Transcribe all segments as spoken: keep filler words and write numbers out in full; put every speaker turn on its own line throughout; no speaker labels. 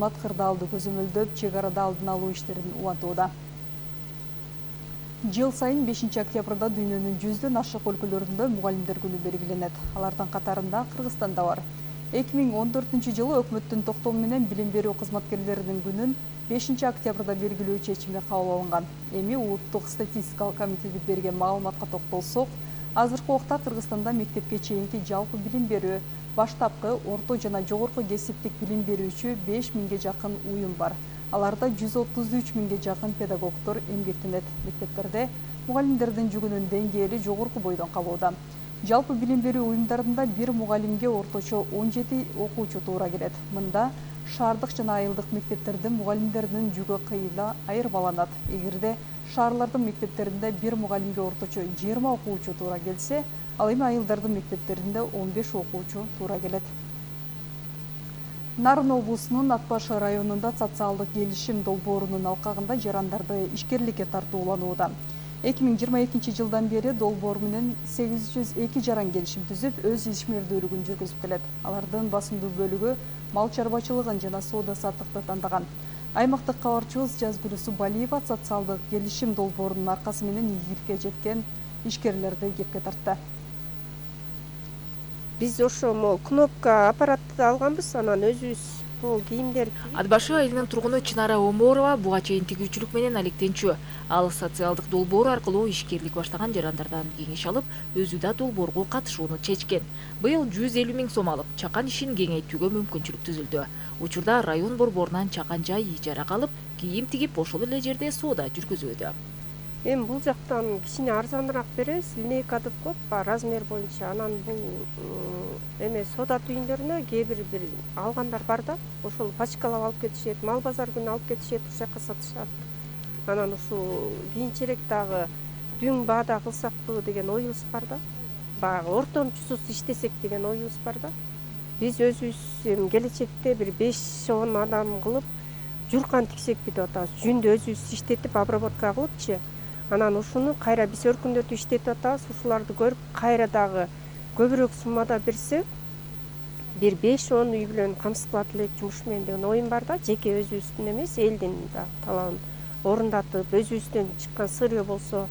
кызмат кырдаалды көзөмөлдөп, чек арада алдын алуу иштерин улантууда. Жыл сайын бешинчи октябрда дүйнөнүн жүздөн ашык өлкөлөрүндө мугалимдер күнү белгиленет. Алардын катарында Кыргызстан да бар. эки миң он төртүнчү жылы өкмөттүн токтому менен билим берүү кызматкерлеринин күнүн бешинчи октябрда белгилөө чечими кабыл алынган. Эми улуттук статистикалык комитети берген маалыматка токтолсок, азыркы убакта Кыргызстанда мектепке чейинки жалпы билим берүү, баштапкы, орто жана жогорку кесиптик билим берүүчү беш миңге жакын уюм бар. Аларда жүз отуз үч миңге жакын педагогдор эмгектенет. Мектептерде мугалимдердин жүгүнүн деңгээли жогорку бойдон калууда. Жалпы билим берүү уюмдарында бир мугалимге орточо он жети окуучу туура келет. Мында шаардык жана айылдык мектептердин мугалимдеринин жүгү кыйла айырмаланат. Эгерде шаарлардын мектептеринде бир мугалимге орточо жыйырма окуучу туура келсе, ал эми айылдардын мектептеринде он беш окуучу туура келет. Нарын облусунун Ат Башы районунда социалдык келишим долбоорунун алкагында жарандарды ишкерликке тартууланууда. эки миң жыйырма экинчи жылдан бери долбоор менен сегиз жүз эки жаран келишим түзүп, өз ишмердүүлүгүн жүргүзүп келет. Алардын басымдуу бөлүгү мал чарбачылыгын жана соода саттыкты тандаган. Аймактык кабарчыбыз Жазгүл Субалиева социалдык келишим долбоорунун аркасы менен ийгиликке жеткен ишкерлерди кепке тартты.
Биз ошо могу кнопка аппаратты алганбыз, анан өзүбүз бул кийимдер.
Ат Башы айылынын тургуну Чынара Оморова буга чейин тигүүчүлүк менен алектенчү. Ал социалдык долбоор аркылуу ишкерлик баштаган жарандардан кеңеш алып, өзү да долбоорго катышууну чечкен. Быйыл жүз элүү миң сом алып, чакан ишин кеңейтүүгө мүмкүнчүлүк түзүлдү. Учурда район борборунан чакан жай ижарага алып, кийим тигип, ошол эле жерде соода жүргүзүүдө.
Эми бул жактан кичине арзаныраак беребиз, линейка деп коет, размер боюнча. Анан бул эме соода түйүндөрүнө кээ бир бир алгандар бар да, ошол пачкалап алып кетишет, мал базар күнү алып кетишет, ошол жака сатышат. Анан ушул кийинчерээк дагы дүң баада кылсакпы деген оюбуз бар да. Баягы ортомчусуз иштесек деген оюбуз бар да. Биз өзүбүз эми келечекте бир беш он адам кылып журкан тиксекпи деп атабыз. Жүндү өзүбүз иштетип, обработка кылыпчы. Анан ушуну кайра биз өркүндөтүп иштетип атабыз. Ушуларды көрүп, кайра дагы көбүрөөк суммада берсе, бир беш он үй бүлөнү камсыз кылат элек жумуш менен деген оюм бар да. Жеке өзүбүздүн эмес, элдин да талабын орундатып, өзүбүздөн чыккан сырье болсо,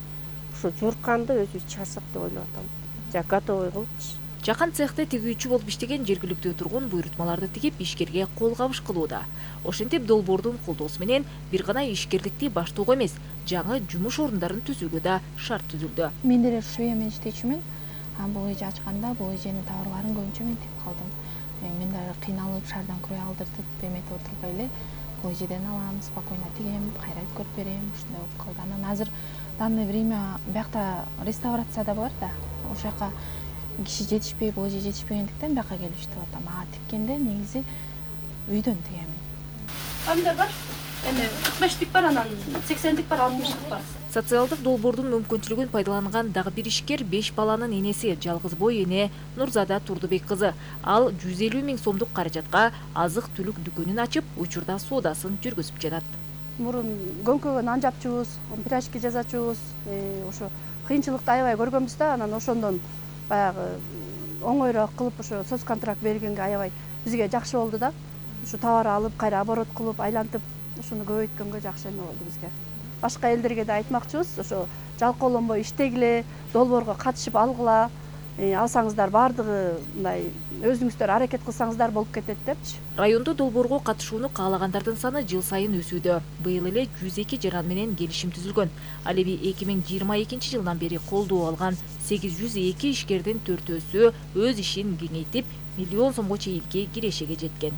ушу журканды өзүбүз чыгарсак деп ойлоп атам. Жа готовый кылыпчы.
Жакан цехте тигүүчү болуп иштеген жергиликтүү тургун буйрутмаларды тигип ишкерге кол кабыш кылууда. Ошентип долбоордун колдоосу менен бир гана ишкерликти баштоого эмес, жаңы жумуш орундарын түзүүгө да шарт түзүлдү.
Мен деле швея менен иштечүмүн. Бул эже ачканда бул эженин товарларын көбүнчө мен тигип калдым. Мен дагы кыйналып, шаардан крой алдыртып, эметип отурбай эле бул эжеден алам, спокойно тигем, кайра өткөрүп берем, ушундай болуп калды. Анан азыр данное время биякта реставрация да бар да. Ошол жака киши жетишпей, бул эже жетишпегендиктен бияка келип иштеп атам. А тиккенде негизи үйдөн тигемин.
Помидор бар, эми кырк бештик бар, анан сексендик бар, алтымыштык бар.
Социалдык долбоордун мүмкүнчүлүгүн пайдаланган дагы бир ишкер беш баланын энеси, жалгыз бой эне Нурзада Турдубек кызы. Ал жүз элүү миң сомдук каражатка азык-түлүк дүкөнүн ачып, учурда соодасын жүргүзүп жатат.
Мурун көңкөгө нан жапчубуз, пирожки жасачубуз, ошо кыйынчылыкты аябай көргөнбүз да, анан ошондон баягы оңойраак кылып ошо соц контракт бергенге аябай бизге жакшы болду да. Ушу товар алып, кайра оборот кылып, айлантып, ушуну көбөйткөнгө жакшы эме болду бизге. Башка элдерге да айтмакчыбыз, ошо жалкоолонбой иштегиле, долбоорго катышып алгыла, алсаңыздар баардыгы мындай өзүңүздөр аракет кылсаңыздар болуп кетет депчи.
Райондо долбоорго катышууну каалагандардын саны жыл сайын өсүүдө. Быйыл эле жүз эки жаран менен келишим түзүлгөн. Ал эми эки миң жыйырма экинчи жылдан бери колдоо алган сегиз жүз эки ишкердин төртөөсү өз ишин кеңейтип, миллион сомго чейинки кирешеге жеткен.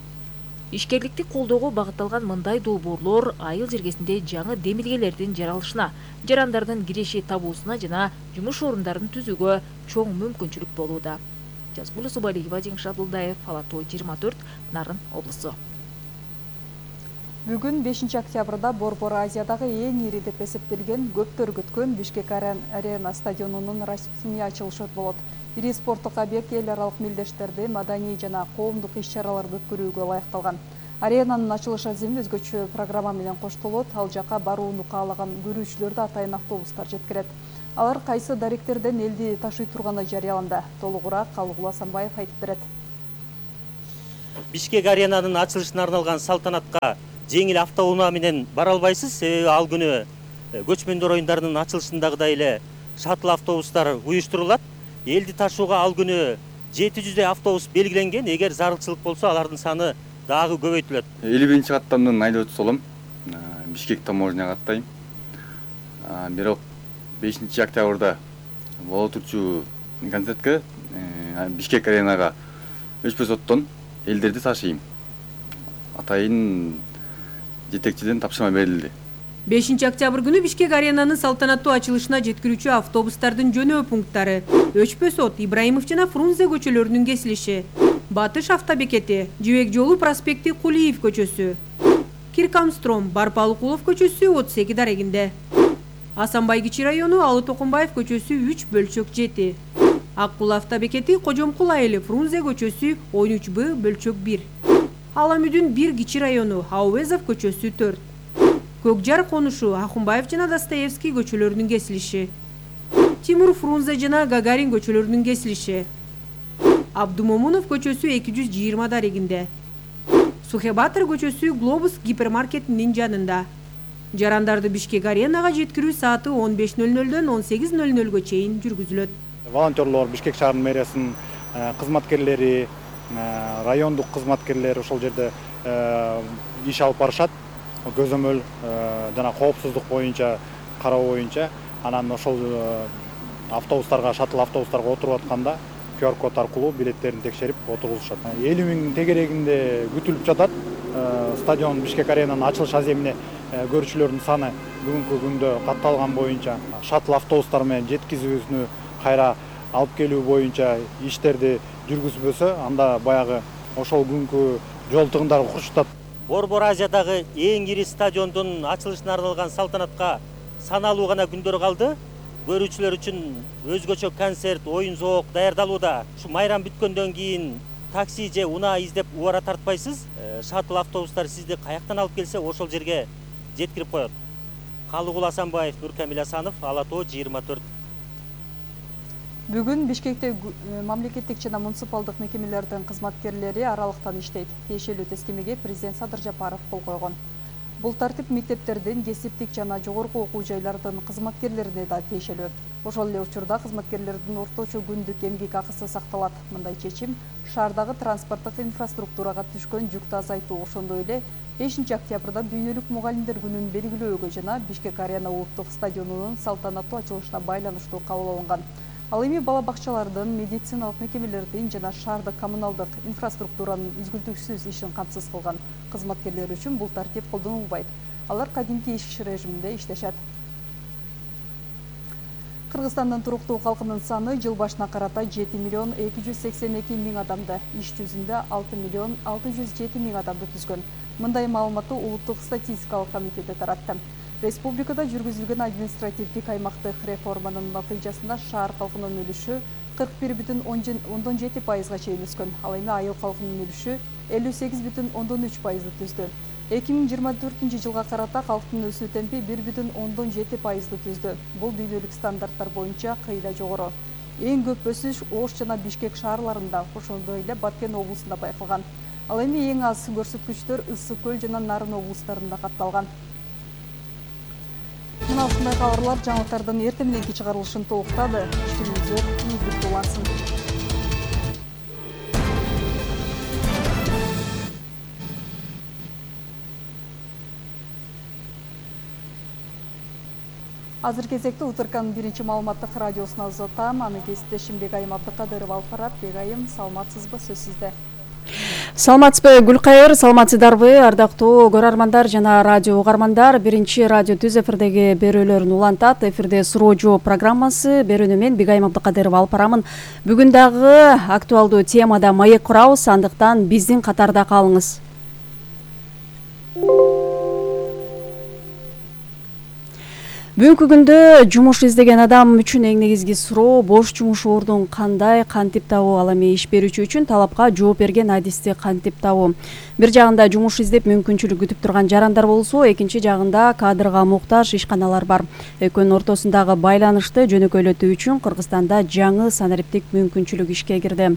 Ишкерликти колдоого багытталган мындай долбоорлор айыл жергесинде жаңы демилгелердин жаралышына, жарандардын киреши табуусуна жана жумуш орундарын түзүүгө чоң мүмкүнчүлүк болууда. Жазгүл Субалиева, Жеңиш Абдулдаев, Алатоо жыйырма төрт, Нарын облусу.
Бүгүн бешинчи октябрда Борбор Азиядагы эң ири деп эсептелген көптөр күткөн Бишкек Арена стадионунун расмий ачылышы болот. Ири спорттук объект эл аралык мелдештерди, маданий жана коомдук иш-чараларды өткөрүүгө ылайыкталган. Аренанын ачылыш аземи өзгөчө программа менен коштолот. Ал жака барууну каалаган көрүүчүлөрдү атайын автобустар жеткирет. Алар кайсы даректерден элди ташый турганы жарыяланды. Толугураак Калыгул Асанбаев айтып берет.
Бишкек аренанын ачылышына арналган салтанатка жеңил автоунаа менен бара албайсыз, себеби ал күнү көчмөндөр оюндарынын ачылышындагыдай эле шаттл автобустар уюштурулат. Элди ташууга ал күнү жети жүздөй автобус белгиленген. Эгер зарылчылык болсо, алардын саны дагы көбөйтүлөт.
элүү биринчи каттамдын айдоочусу болом. Бишкек таможняга аттайм. Бирок бешинчи октябрда боло турчу концертке Бишкек аренага өчпөс оттон элдерди ташыйм. Атайын жетекчиден тапшырма берилди.
бешинчи октябрь күнү Бишкек аренанын салтанаттуу ачылышына жеткирүүчү автобустардын жөнөө пункттары Өчпөс от, Ибраимов жана Фрунзе көчөлөрүнүн кесилиши, Батыш автобекети, Жибек жолу проспекти Кулиев көчөсү, Киркамстром, Барпалыкулов көчөсү отуз эки дарегинде, Асанбай кичи району Алы Токумбаев көчөсү үч бөлчөк жети, Аккул автобекети Кожомкул айылы Фрунзе көчөсү он үч Б бөлчөк бир, Аламүдүн бир кичи району Аувезов көчөсү төрт, Көкжар конушу Ахунбаев жана Достоевский көчөлөрүнүн кесилиши, Тимур Фрунзе жана Гагарин көчөлөрүнүн кесилиши, Абдумомунов көчөсү эки жүз жыйырма дарегинде, Сухебатыр көчөсү Глобус гипермаркетинин жанында. Жарандарды Бишкек аренага жеткирүү сааты он беш ноль нолдон он сегиз ноль нолго чейин жүргүзүлөт.
Волонтерлор, Бишкек шаарынын мэриясынын кызматкерлери, райондук кызматкерлер ошол жерде иш алып барышат. Көзөмөл жана коопсуздук боюнча кароо боюнча, анан ошол автобустарга, шаттл автобустарга отуруп атканда ку ар код аркылуу билеттерин текшерип отургузушат. элүү миңдин тегерегинде күтүлүп жатат. Стадион Бишкек аренанын ачылыш аземине көрүүчүлөрдүн саны бүгүнкү күндө катталган боюнча шаттл автобустар менен жеткизүүнү кайра алып келүү боюнча иштерди жүргүзбөсө, анда баягы ошол күnkү жол тыгындары курчутат.
Борбор Азиядагы эң ири стадиондун ачылышына арналган салтанатка саналуу гана күндөр калды. Көрүүчүлөр үчүн өзгөчө концерт, оюн зоок даярдалууда. Ушу майрам бүткөндөн кийин такси же унаа издеп убара тартпайсыз. Шаттл автобустар сизди каяктан алып келсе, ошол жерге жеткирип коет. Калыгул Асанбаев, Нуркамил Асанов, Ала Тоо жыйырма төрт.
Бүгүн Бишкекте мамлекеттик жана муниципалдык мекемелердин кызматкерлери аралыктан иштейт. Тиешелүү тескемеге президент Садыр Жапаров кол койгон. Бул тартип мектептердин, кесиптик жана жогорку окуу жайлардын кызматкерлерине да тиешелүү. Ошол эле учурда кызматкерлердин орточо күндүк эмгек акысы сакталат. Мындай чечим шаардагы транспорттук инфраструктурага түшкөн жүктү азайтуу, ошондой эле бешинчи октябрда дүйнөлүк мугалимдер күнүн белгилөөгө жана Бишкек арена улуттук стадионунун салтанаттуу ачылышына байланыштуу кабыл алынган. Ал эми бала бакчалардын, медициналык мекемелердин жана шаардык коммуналдык инфраструктуранын үзгүлтүксүз ишин камсыз кылган. Кызматкерлер үчүн бул тартип колдонулбайт. Алар кадимки иш режиминде иштешет. Кыргызстандын туруктуу калкынын саны жыл башына карата жети миллион эки жүз сексен эки миң адамды, иш жүзүндө алты миллион алты жүз жети миң адамды түзгөн. Мындай маалыматты Улуттук статистикалык комитети таратты. Республикада жүргүзүлгөн административдик аймактык реформанын натыйжасында шаар калкынын үлүшү кырк бир бүтүн ондон жети пайызга чейин өскөн. Ал эми айыл калкынын үлүшү элүү сегиз бүтүн ондон үч пайызды түздү. эки миң жыйырма төртүнчү жылга карата калктын өсүү темпи бир бүтүн ондон жети пайызды түздү. Бул дүйнөлүк стандарттар боюнча кыйла жогору. Эң көп өсүш Ош жана Бишкек шаарларында, ошондой эле Баткен облусунда байкалган. Ал эми эң аз көрсөткүчтөр Ысык көл жана Нарын облустарында катталган. Мына ушундай кабарлар жаңылыктардын эртең мененки чыгарылышын толуктады. Иштүүңүздөр ийгиликтүү улансын. Азыр кезекте Утырканын биринчи маалыматтык радиосуна узатам. Аны кесиптешим Бегайым Абдыкадырова алып барат. Бегайым, саламатсызбы, сөз сизде.
Саламатсызбы Гүлкайыр, саламатсыздарбы ардактуу көрөрмандар жана радио угармандар. Биринчи радио түз эфирдеги берүүлөрүн улантат. Эфирде суроо жооп программасы, берүүнү мен Бегайым Абдыкадырова алып барамын. Бүгүн дагы актуалдуу темада маек курабыз, андыктан биздин катарда калыңыз. Бүгүнкү күндө жумуш издеген адам үчүн эң негизги суроо бош жумуш ордун кандай кантип табуу, ал эми иш берүүчү үчүн талапка жооп берген адисти кантип табуу. Бир жагында жумуш издеп мүмкүнчүлүк күтүп турган жарандар болсо, экинчи жагында кадрга муктаж ишканалар бар. Экөөнүн ортосундагы байланышты жөнөкөйлөтүү үчүн Кыргызстанда жаңы санариптик мүмкүнчүлүк ишке кирди.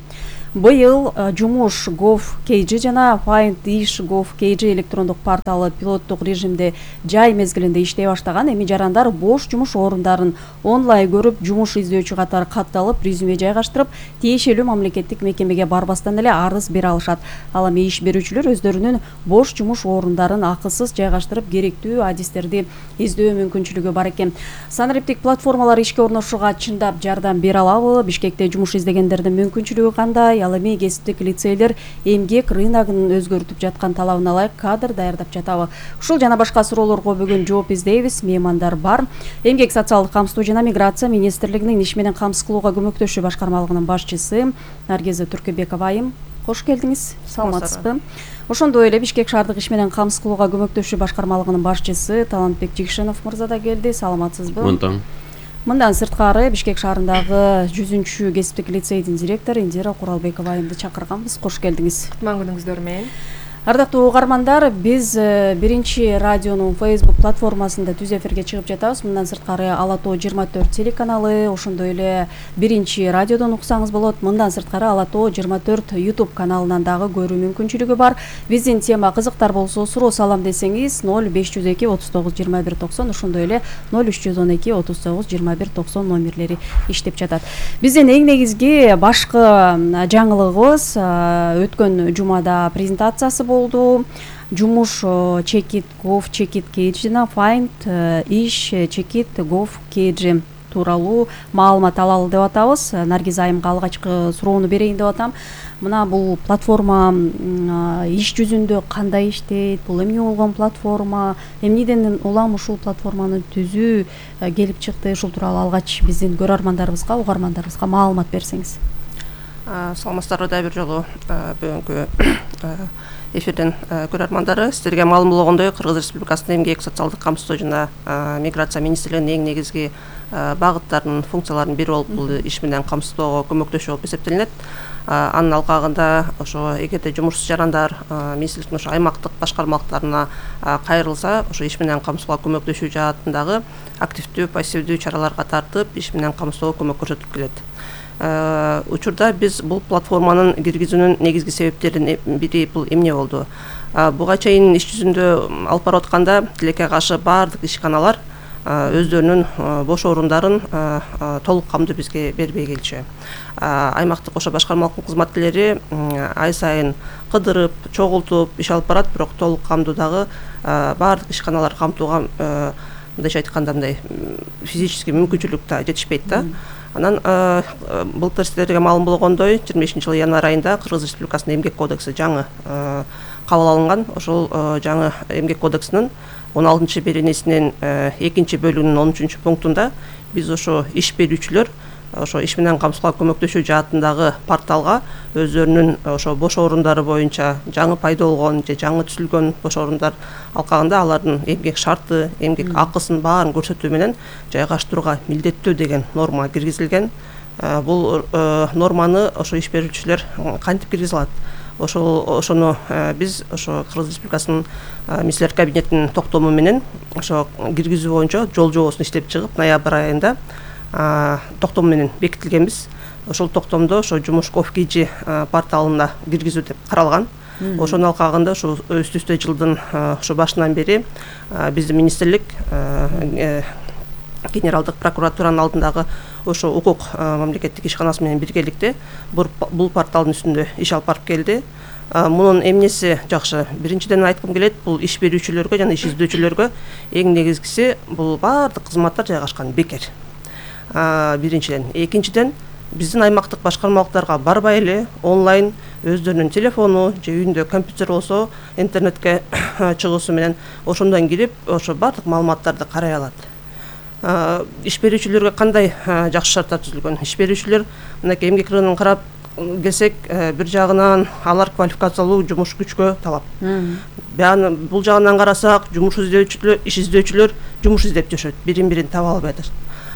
быйыл жумуш gov kg жана find ish gov kg электрондук порталы пилоттук режимде жай мезгилинде иштей баштаган. Эми жарандар бош жумуш орундарын онлайн көрүп, жумуш издөөчү катары катталып, резюме жайгаштырып, тиешелүү мамлекеттик мекемеге барбастан эле арыз бере алышат. Ал эми иш берүүчүлөр өздөрүнүн бош жумуш орундарын акысыз жайгаштырып, керектүү адистерди издөө мүмкүнчүлүгү бар экен. Санариптик платформалар ишке орношууга чындап жардам бере алабы? Бишкекте жумуш издегендердин мүмкүнчүлүгү кандай? Ал эми кесиптик лицейлер эмгек рыногун өзгөртүп жаткан талабына ылайык кадр даярдап жатабы? Ушул жана башка суроолорго бүгүн жооп издейбиз. Меймандар бар. Эмгек социалдык камсыздоо жана миграция министрлигинин иш менен камсыз кылууга көмөктөшүү башкармалыгынын башчысы Наргиза Түркөбекова айым. Кош келдиңиз. Саламатсызбы? Ошондой эле Бишкек шаардык иш менен камсыз кылууга көмөктөшүү башкармалыгынын башчысы Талантбек Жикшенов мырза да келди. Саламатсызбы?
Мындан.
Мындан сырткары Бишкек шаарындагы жүзүнчү кесиптик лицейдин директору Индира Куралбекова айымды чакырганбыз. Кош келдиңиз.
Кутман күнүңүздөр менен.
Ардактуу угармандар, биз биринчи радионун Facebook платформасында түз эфирге чыгып жатабыз. Мындан сырткары Ала Тоо жыйырма төрт телеканалы, ошондой эле биринчи радиодон уксаңыз болот. Мындан сырткары Ала Тоо жыйырма төрт YouTube каналынан дагы көрүү мүмкүнчүлүгү бар. Биздин тема кызыктар болсо, суроо салам десеңиз ноль беш жүз эки отуз тогуз жыйырма бир токсон, ошондой эле ноль үч жүз он эки отуз тогуз жыйырма бир токсон номерлери иштеп жатат. Биздин эң негизги башкы жаңылыгыбыз өткөн жумада презентациясы болду. Жумуш чекит gov чекит kg жана find ish чекит gov kg тууралуу маалымат алалы деп атабыз. Наргиз айымга алгачкы суроону берейин деп атам. Мына бул платформа иш жүзүндө кандай иштейт? Бул эмне болгон платформа? Эмнеден улам ушул платформаны түзүү келип чыкты? Ушул тууралуу алгач биздин көрөрмандарыбызга, угармандарыбызга маалымат берсеңиз.
Саламатсыздарбы да бир жолу бүгүнкү эфирден көрөрмандары. Сиздерге маалым болгондой, Кыргыз Республикасынын эмгек социалдык камсыздоо жана миграция министрлигинин эң негизги багыттарынын функцияларынын бири болуп бул иш менен камсыздоого көмөктөшүү болуп эсептелинет. Анын алкагында ошо эгерде жумушсуз жарандар министрликтин ошо аймактык башкармалыктарына кайрылса, ошо иш менен камсыздоого көмөктөшүү жаатындагы активдүү, пассивдүү чараларга тартып, иш менен камсыздоого көмөк көрсөтүп келет. Учурда биз бул платформанын киргизүүнүн негизги себептеринин бири бул эмне болду? Буга чейин иш жүзүндө алып барып атканда тилекке каршы баардык ишканалар өздөрүнүн бош орундарын толук камдуу бизге бербей келчү. Аймактык ошо башкармалыктын кызматкерлери ай сайын кыдырып, чогултуп иш алып барат, бирок толук камдуудагы баардык ишканалар камтууга мындайча айтканда мындай физический мүмкүнчүлүк да жетишпейт да. Анан былтыр сиздерге маалым болгондой, жыйырма бешинчи жылы январь айында Кыргыз Республикасынын эмгек кодекси жаңы кабыл алынган. Ошол жаңы эмгек кодексинин он алтынчы беренесинин экинчи бөлүгүнүн он үчүнчү пунктунда биз ошо иш берүүчүлөр ошо иш менен камсыздоого көмөктөшүү жаатындагы порталга өздөрүнүн ошо бош орундары боюнча жаңы пайда болгон же жаңы түзүлгөн бош орундар алкагында алардын эмгек шарты, эмгек акысын баарын көрсөтүү менен жайгаштырууга милдеттүү деген норма киргизилген. Бул норманы ошо иш берүүчүлөр кантип киргизе алат? Ошол ошону биз ошо Кыргыз Республикасынын министрлер кабинетинин токтому менен ошо киргизүү боюнча жол жобосун иштеп чыгып, ноябрь айында токтом менен бекитилгенбиз. Ошол токтомдо ошо жумуш gov kg порталына киргизүү деп каралган. Ошонун алкагында ошо өстүстө жылдын ошо башынан бери биздин министрлик генералдык прокуратуранын алдындагы ошо укук мамлекеттик ишканасы менен биргеликте бул порталдын үстүндө иш алып барып келди. Мунун эмнеси жакшы? Биринчиден айткым келет, бул иш берүүчүлөргө жана иш издөөчүлөргө эң негизгиси бул баардык кызматтар жайгашкан бекер. Биринчиден, экинчиден биздин аймактык башкармалыктарга барбай эле онлайн өздөрүнүн телефону же үйүндө компьютер болсо интернетке чыгуусу менен ошондон кирип ошо баардык маалыматтарды карай алат. Иш берүүчүлөргө кандай жакшы шарттар түзүлгөн? Иш берүүчүлөр мынакей эмгек рыногун карап келсек, бир жагынан алар квалификациялуу жумуш күчкө талап. Бул жагынан карасак, жумуш издөөчүлөр, иш издөөчүлөр жумуш издеп жашайт, бирин-бирин таба албай атат.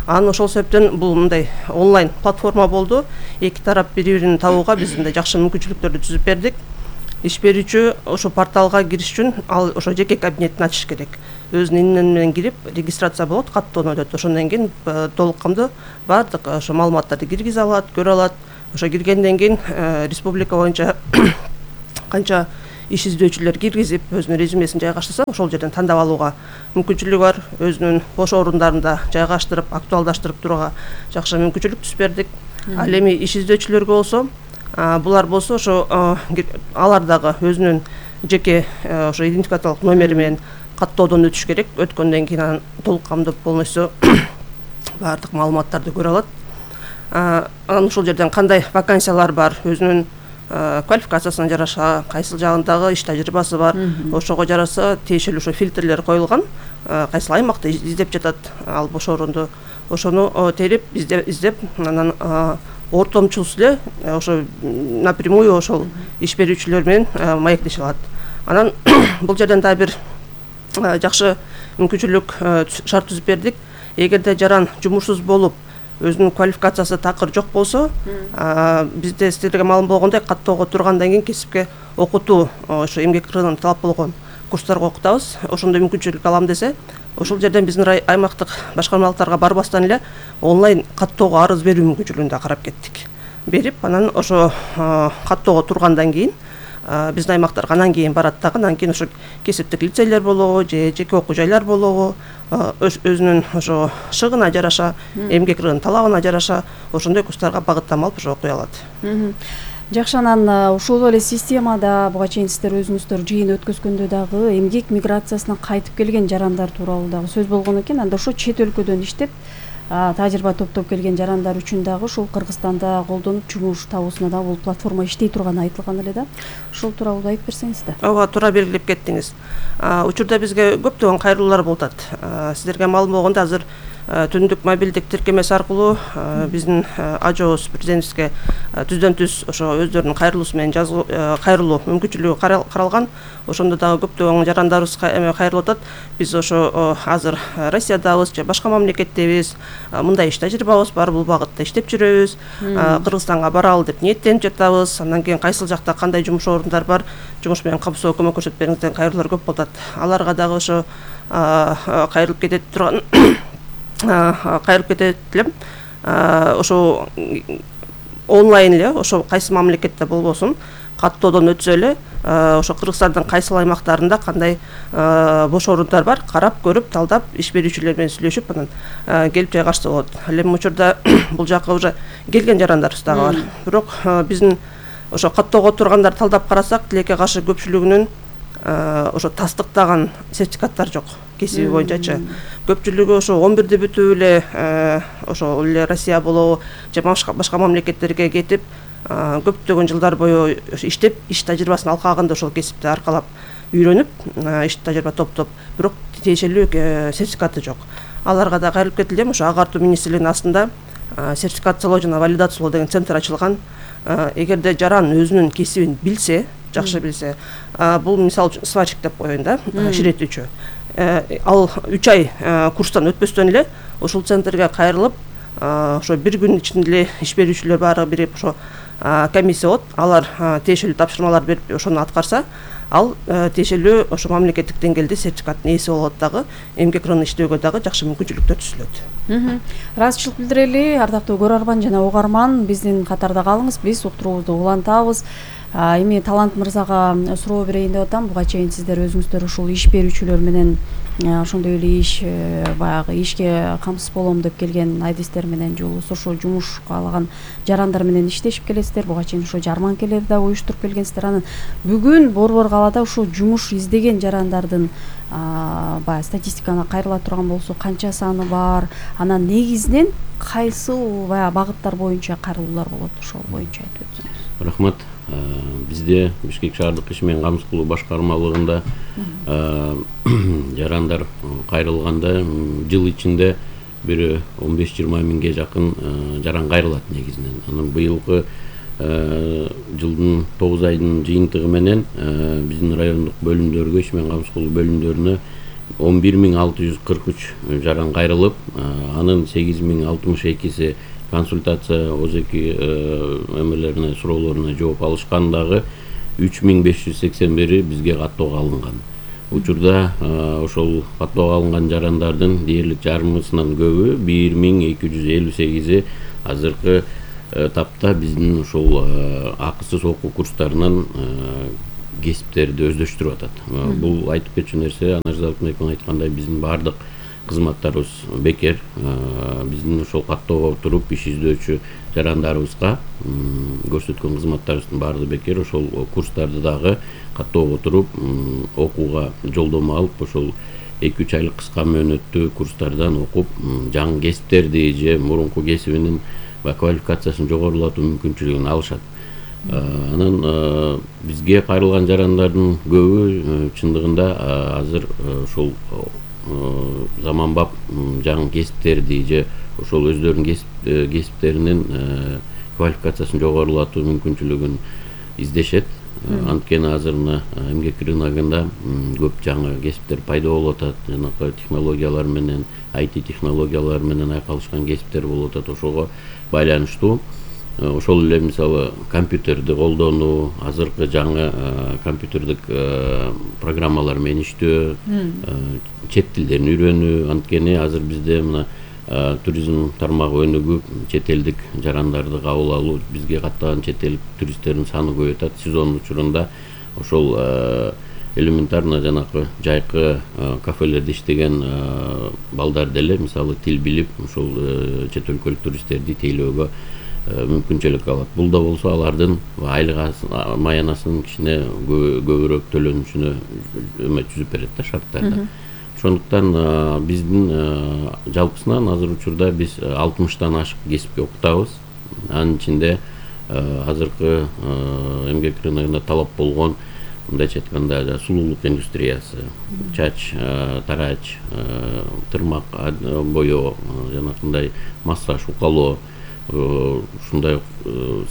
Анан ошол себептен бул мындай онлайн платформа болду. Эки тарап бири-бирин табууга биз мындай жакшы мүмкүнчүлүктөрдү түзүп бердик. Иш берүүчү ошо порталга кириш үчүн ал ошо жеке кабинетин ачыш керек. Өзүнүн имени менен кирип регистрация болот, каттоону өтөт. Ошондон кийин толук камдуу баардык ошо маалыматтарды киргизе алат, көрө алат. ошо киргенден кийин республика боюнча канча иш издөөчүлөр киргизип өзүнүн резюмесин жайгаштырса ошол жерден тандап алууга мүмкүнчүлүгү бар. Өзүнүн бош орундарында жайгаштырып актуалдаштырып турууга жакшы мүмкүнчүлүк түзүп бердик. Ал эми иш издөөчүлөргө болсо булар болсо ошо алар дагы өзүнүн жеке ошо идентификациялык номери менен каттоодон өтүш керек. Өткөндөн кийин анан толук камдуу полностью баардык маалыматтарды көрө алат. Анан ошол жерден кандай вакансиялар бар, өзүнүн квалификациясына жараша, кайсыл жагындагы иш тажрыйбасы бар, ошого жараса тиешелүү ошо фильтрлер коюлган. Кайсыл аймакта издеп жатат ал бош орунду, ошону терип издеп, анан ортомчулсуз эле ошо напрямую ошол иш берүүчүлөр менен маектеше алат. Анан бул жерден дагы бир жакшы мүмкүнчүлүк шарт түзүп бердик. Эгерде жаран жумушсуз болуп, өзүнүн квалификациясы такыр жок болсо, бизде сиздерге маалым болгондой каттоого тургандан кийин кесипке окутуу ошо эмгек рыногунун талап болгон курстарга окутабыз. Ошондой мүмкүнчүлүк алам десе, ошол жерден биздин аймактык башкармалыктарга барбастан эле онлайн каттоого арыз берүү мүмкүнчүлүгүн да карап кеттик. Берип, анан ошо каттоого тургандан кийин биздин аймактарга анан кийин барат дагы, анан кийин ошо кесиптик лицейлер болобу же жеке окуу жайлар болобу, өзүнүн ошо шыгына жараша, эмгек рыногунун талабына жараша ошондой курстарга багыттама алып ошо окуй алат.
Жакшы, анан ушул эле системада буга чейин сиздер өзүңүздөр жыйын өткөзгөндө дагы эмгек миграциясына кайтып келген жарандар тууралуу дагы сөз болгон экен. Анда ошо чет өлкөдөн иштеп тажрыйба топтоп келген жарандар үчүн дагы ушул Кыргызстанда колдонуп жумуш табуусуна дагы бул платформа иштей турганы айтылган эле да. Ушул тууралуу айтып берсеңиз да.
Ооба, туура белгилеп кеттиңиз. Учурда бизге көптөгөн кайрылуулар болуп атат. Сиздерге маалым болгондой, азыр түндүк мобилдик тиркемеси аркылуу биздин ажообуз президентибизге түздөн түз ошо өздөрүнүн кайрылуусу менен кайрылуу мүмкүнчүлүгү каралган. Ошондо дагы көптөгөн жарандарыбыз кайрылып атат. Биз ошо азыр Россиядабыз же башка мамлекеттебиз, мындай иш тажрыйбабыз бар, бул багытта иштеп жүрөбүз, Кыргызстанга баралы деп ниеттенип жатабыз. Андан кийин кайсыл жакта кандай жумуш орундар бар, жумуш менен кабылсоо көмөк көрсөтүп бериңиз деген кайрылуулар көп болуп атат. Аларга дагы ошо кайрылып кетет турган кайрылып кетет элем. Ошо онлайн эле ошо кайсы мамлекетте болбосун каттоодон өтсө эле ошо Кыргызстандын кайсыл аймактарында кандай бош орундар бар карап көрүп талдап иш берүүчүлөр менен сүйлөшүп анан келип жайгашса болот. Ал эми учурда бул жака уже келген жарандарыбыз дагы бар. Бирок биздин ошо каттоого тургандар талдап карасак, тилекке каршы көпчүлүгүнүн ошо тастыктаган сертификаттар жок кесиби боюнчачы. Көпчүлүгү ошо он бирди бүтүп эле ошо эле Россия болобу же башка мамлекеттерге кетип көптөгөн жылдар бою иштеп, иш тажрыйбасын алкаганда ошол кесипти аркалап үйрөнүп, иш тажрыйба топтоп, бирок тиешелүү сертификаты жок. Аларга да кайрылып кетилем. Ошо агартуу министрлигинин астында сертификациялоо жана валидациялоо деген центр ачылган. Эгерде жаран өзүнүн кесибин билсе, жакшы билсе, бул мисалы үчүн сварщик деп коеюн да, ширетүүчү. Ал үч ай курстан өтпөстөн эле ушул центрге кайрылып, ошо бир күн ичинде эле иш берүүчүлөр баары бирип ошо комиссия болот. Алар тиешелүү тапшырмалар берип ошону аткарса, ал тиешелүү ошо мамлекеттик деңгээлде сертификаттын ээси болот дагы, эмгек рыногунда иштөөгө дагы жакшы мүмкүнчүлүктөр түзүлөт.
Ыраазычылык билдирели, ардактуу көрөрман жана угарман, биздин катарда калыңыз, биз уктуруубузду улантабыз. Эми Талант мырзага суроо берейин деп атам. Буга чейин сиздер өзүңүздөр ушул иш берүүчүлөр менен ошондой эле иш баягы ишке камсыз болом деп келген айдистер менен же болбосо ошол жумуш каалаган жарандар менен иштешип келесиздер. Буга чейин ошо жарманкелерди да уюштуруп келгенсиздер. Анан бүгүн Борбор калаада ушул жумуш издеген жарандардын баягы статистиканы кайрыла турган болсо канча саны бар? Анан негизинен кайсыл баягы багыттар боюнча кайрылуулар болот? Ошол боюнча айтып өтсөңүз.
Рахмат. Бизде Бишкек шаардык иш менен камсыз кылуу башкармалыгында жарандар кайрылганда жыл ичинде бир он беш жыйырма миңге жакын жаран кайрылат негизинен. Анан быйылкы жылдын тогуз айдын жыйынтыгы менен биздин райондук бөлүмдөргө, иш менен камсыз кылуу бөлүмдөрүнө он бир миң алты жүз кырк үч жаран кайрылып, анын сегиз миң алтымыш экиси консультация озеки эмелерине, суроолоруна жооп алышкан, дагы үч миң беш жүз сексен бири бизге каттоого алынган. Учурда ошол каттоого алынган жарандардын дээрлик жарымысынан көбү, бир миң эки жүз элүү сегизи азыркы тапта биздин ушул акысыз окуу курстарынан кесиптерди өздөштүрүп атат. Бул айтып кетчү нерсе, Анар Залтмекова айткандай, биздин баардык кызматтарыбыз бекер. Биздин ошол каттоого туруп иш издөөчү жарандарыбызга көрсөткөн кызматтарыбыздын баардыгы бекер. Ошол курстарды дагы каттоого туруп окууга жолдомо алып, ошол эки үч айлык кыска мөөнөттүү курстардан окуп, жаңы кесиптерди же мурунку кесибинин квалификациясын жогорулатуу мүмкүнчүлүгүн алышат. Анан бизге кайрылган жарандардын көбү чындыгында азыр ошол заманбап жаңы кесиптерди же ошол өздөрүнүн кесиптеринин квалификациясын жогорулатуу мүмкүнчүлүгүн издешет. Анткени азыр мына эмгек рыногунда көп жаңы кесиптер пайда болуп атат. Жанакы технологиялар менен, ай ти технологиялар менен айкалышкан кесиптер болуп атат. Ошого байланыштуу ошол эле мисалы компьютерди колдонуу, азыркы жаңы компьютердик программалар менен иштөө, чет тилдерин үйрөнүү. Анткени азыр бизде мына туризм тармагы өнүгүп, чет элдик жарандарды кабыл алуу, бизге каттаган чет элдик туристтердин саны көбөйүп атат. Сезон учурунда ошол элементарно жанакы жайкы кафелерде иштеген балдар деле мисалы тил билип, ошол чет өлкөлүк туристтерди тейлөөгө мүмкүнчүлүк алат. Бул да болсо алардын айлык маянасынын кичине көбүрөөк төлөнүшүнө үмүт түзүп берет да шарттарда. Ошондуктан биздин жалпысынан азыр учурда биз алтымыштан ашык кесипке окутабыз. Анын ичинде азыркы эмгек рыногунда талап болгон, мындайча айтканда, сулуулук индустриясы, чач, тарач, тырмак боёо, жанакындай массаж, укалоо, ушундай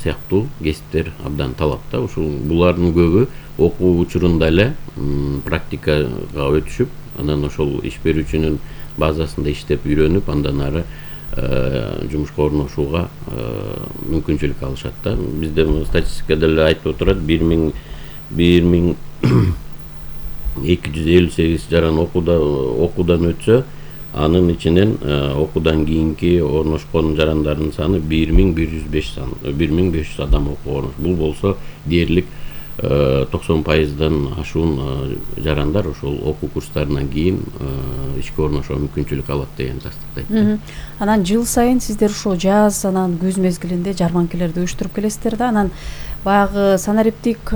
сыяктуу кесиптер абдан талапта. Ушул булардын көбү окуу учурунда эле практикага өтүшүп, анан ошол иш берүүчүнүн базасында иштеп үйрөнүп, андан ары жумушка орношууга мүмкүнчүлүк алышат да. Бизде статистикада эле айтып отурат, бир миң эки жүз элүү сегиз жаран окуудан өтсө, анын ичинен окуудан кийинки орношкон жарандардын саны бир миң бир жүз беш адам окууга орнош. Бул болсо дээрлик токсон пайыздан ашуун жарандар ошол окуу курстарынан кийин ишке орношууга мүмкүнчүлүк алат деген тастыктайт.
Анан жыл сайын сиздер ушул жаз анан күз мезгилинде жарманкелерди уюштуруп келесиздер да. Анан баягы санариптик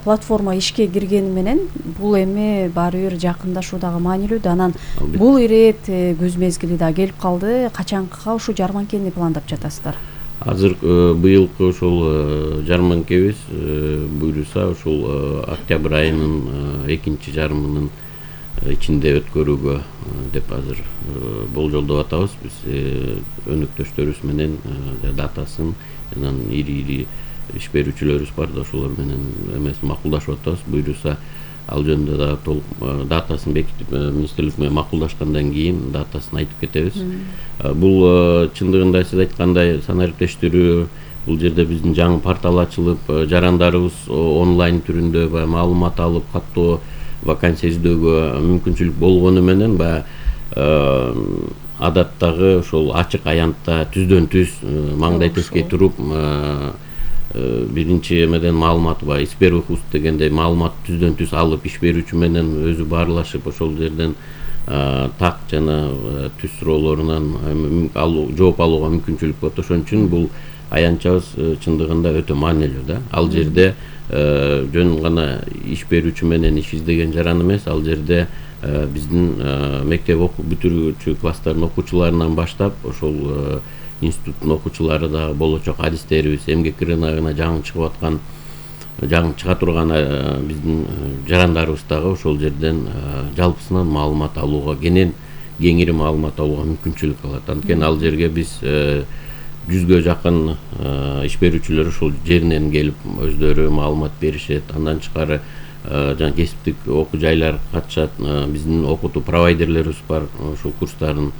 платформа ишке киргени менен бул эми баары бир жакындашуу дагы маанилүү да. Анан бул ирет күз мезгили да келип калды. Качанкыга ушул жарманкени пландап жатасыздар?
Азыр быйылкы ошол жарманкебиз буйруса ошол октябрь айынын экинчи жарымынын ичинде өткөрүүгө деп азыр болжолдоп атабыз. Биз өнөктөштөрүбүз менен датасын, анан ири-ири иш берүүчүлөрүбүз бар да, ошолор менен эмес макулдашып атабыз. Буйруса ал жөнүндө да толук датасын бекитип, министрлик менен макулдашкандан кийин датасын айтып кетебиз. Бул чындыгында сиз айткандай санариптештирүү, бул жерде биздин жаңы портал ачылып, жарандарыбыз онлайн түрүндө баягы маалымат алып, каттоо, вакансия издөөгө мүмкүнчүлүк болгону менен баягы адаттагы ошол ачык аянтта түздөн түз маңдай тескей туруп биринчи эмеден маалымат ба иш берүү хуст дегендей маалымат түздөн түз алып, иш берүүчү менен өзү баарлашып, ошол жерден так жана түз суроолорунан жооп алууга мүмкүнчүлүк болот. Ошон үчүн бул аянтчабыз чындыгында өтө маанилүү да. Ал жерде жөн гана иш берүүчү менен иш издеген жаран эмес, ал жерде биздин мектеп бүтүрүүчү класстардын окуучуларынан баштап ошол институттун окуучулары да, болочок адистерибиз, эмгек рыногуна жаңы чыгып аткан, жаңы чыга турган биздин жарандарыбыз дагы ошол жерден жалпысынан маалымат алууга, кенен кеңири маалымат алууга мүмкүнчүлүк алат. Анткени ал жерге биз жүзгө жакын иш берүүчүлөр ошол жеринен келип өздөрү маалымат беришет. Андан тышкары жана кесиптик окуу жайлар катышат. Биздин окутуу провайдерлерибиз бар, ошол курстардын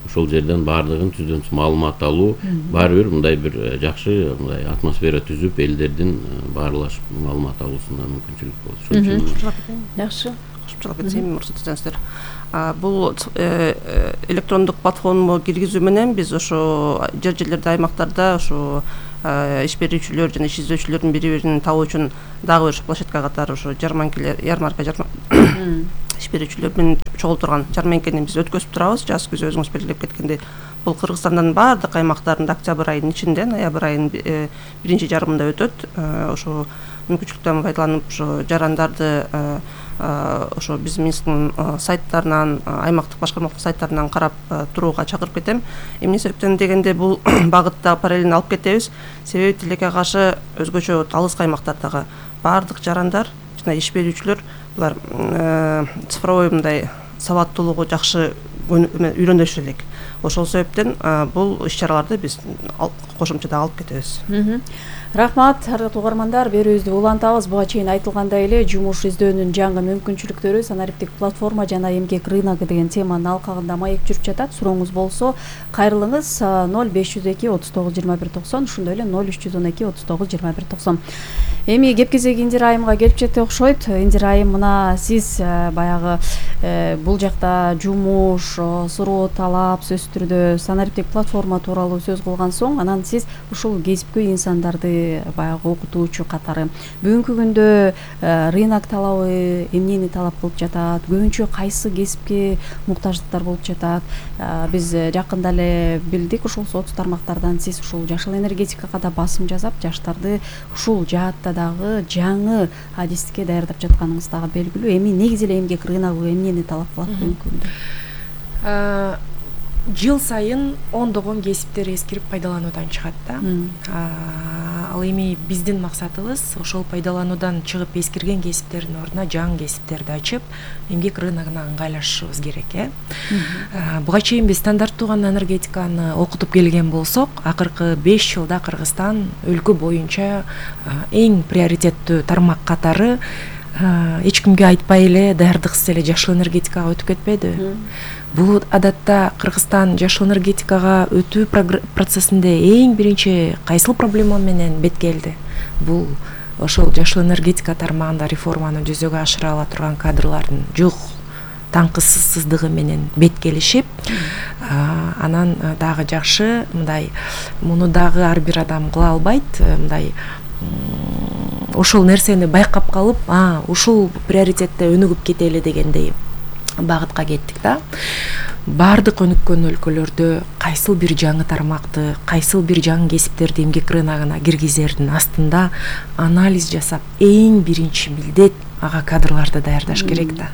ошол жерден баардыгын түздөн түз маалымат алуу, баары бир мындай бир жакшы мындай атмосфера түзүп, элдердин баарлашып маалымат алуусуна мүмкүнчүлүк болот. Ошон үчүн
жакшы.
кошумчалап кетсем уруксат этсеңиздер. Бул электрондук платформа киргизүү менен биз ошо жер жерлерде, аймактарда ошо иш берүүчүлөр жана иш издөөчүлөрдүн бири бирин табуу үчүн дагы бир площадка катары ошо жарманкелер, ярмарка иш берүүчүлөр менен чогулуп турган жарманкени биз өткөзүп турабыз. Жаз күз өзүңүз белгилеп кеткендей, бул Кыргызстандын баардык аймактарында октябрь айынын ичинде, ноябрь айынын биринчи жарымында өтөт. Ошо мүмкүнчүлүктөн пайдаланып ошо жарандарды ошо биздин министрликтин сайттарынан, аймактык башкармалык сайттарынан карап турууга чакырып кетем. Эмне себептен дегенде бул багытта параллельно алып кетебиз. Себеби тилекке каршы өзгөчө алыс аймактардагы баардык жарандар жана иш берүүчүлөр булар цифровой мындай сабаттуулугу жакшы үйрөнүшү элек. Ошол себептен бул иш-чараларды биз кошумчада алып кетебиз.
Рахмат, ардактуу угармандар, берүүбүздү улантабыз. Буга чейин айтылгандай эле жумуш издөөнүн жаңы мүмкүнчүлүктөрү, санариптик платформа жана эмгек рыногу деген теманын алкагында маек жүрүп жатат. Сурооңуз болсо кайрылыңыз ноль беш жүз эки отуз тогуз жыйырма бир токсон, ошондой эле ноль үч жүз он эки отуз тогуз жыйырма бир токсон. Эми кеп кезеги Индира айымга келип жетти окшойт. Индира айым, мына сиз баягы бул жакта жумуш, суроо, талап сөзсүз түрдө санариптик платформа тууралуу сөз кылган соң, анан сиз ушул кесипкөй инсандарды баягы окутуучу катары бүгүнкү күндө рынок талабы эмнени талап кылып жатат, көбүнчө кайсы кесипке муктаждыктар болуп жатат? Биз жакында эле билдик, ушул соц тармактардан сиз ушул жашыл энергетикага да басым жасап, жаштарды ушул жаатта дагы жаңы адистикке даярдап жатканыңыз дагы белгилүү. Эми негизи эле эмгек рыногу эмнени талап кылат бүгүнкү күндө?
Жыл сайын ондогон кесиптер эскирип пайдалануудан чыгат да. Ал эми биздин максатыбыз ошол пайдалануудан чыгып эскирген кесиптердин ордуна жаңы кесиптерди ачып, эмгек рыногуна ыңгайлашышыбыз керек, э. Буга чейин биз стандарттуу гана энергетиканы окутуп келген болсок, акыркы беш жылда Кыргызстан өлкө боюнча эң приоритеттүү тармак катары эч кимге айтпай эле даярдыксыз эле жашыл энергетикага өтүп кетпеди. Бул адатта Кыргызстан жашыл энергетикага өтүү процессинде эң биринчи кайсыл проблема менен бет келди? Бул ошол жашыл энергетика тармагында реформаны жүзөгө ашыра ала турган кадрлардын жок таңкысыздыгы менен бет келишип, анан дагы жакшы мындай муну дагы ар бир адам кыла албайт, мындай ошол нерсени байкап калып, а ушул приоритетте өнүгүп кетели дегендей багытка кеттик да. Бардык өнүккөн өлкөлөрдө кайсыл бир жаңы тармакты, кайсыл бир жаңы кесиптерди эмгек рыногуна киргизердин астында анализ жасап, эң биринчи милдет ага кадрларды даярдаш керек да.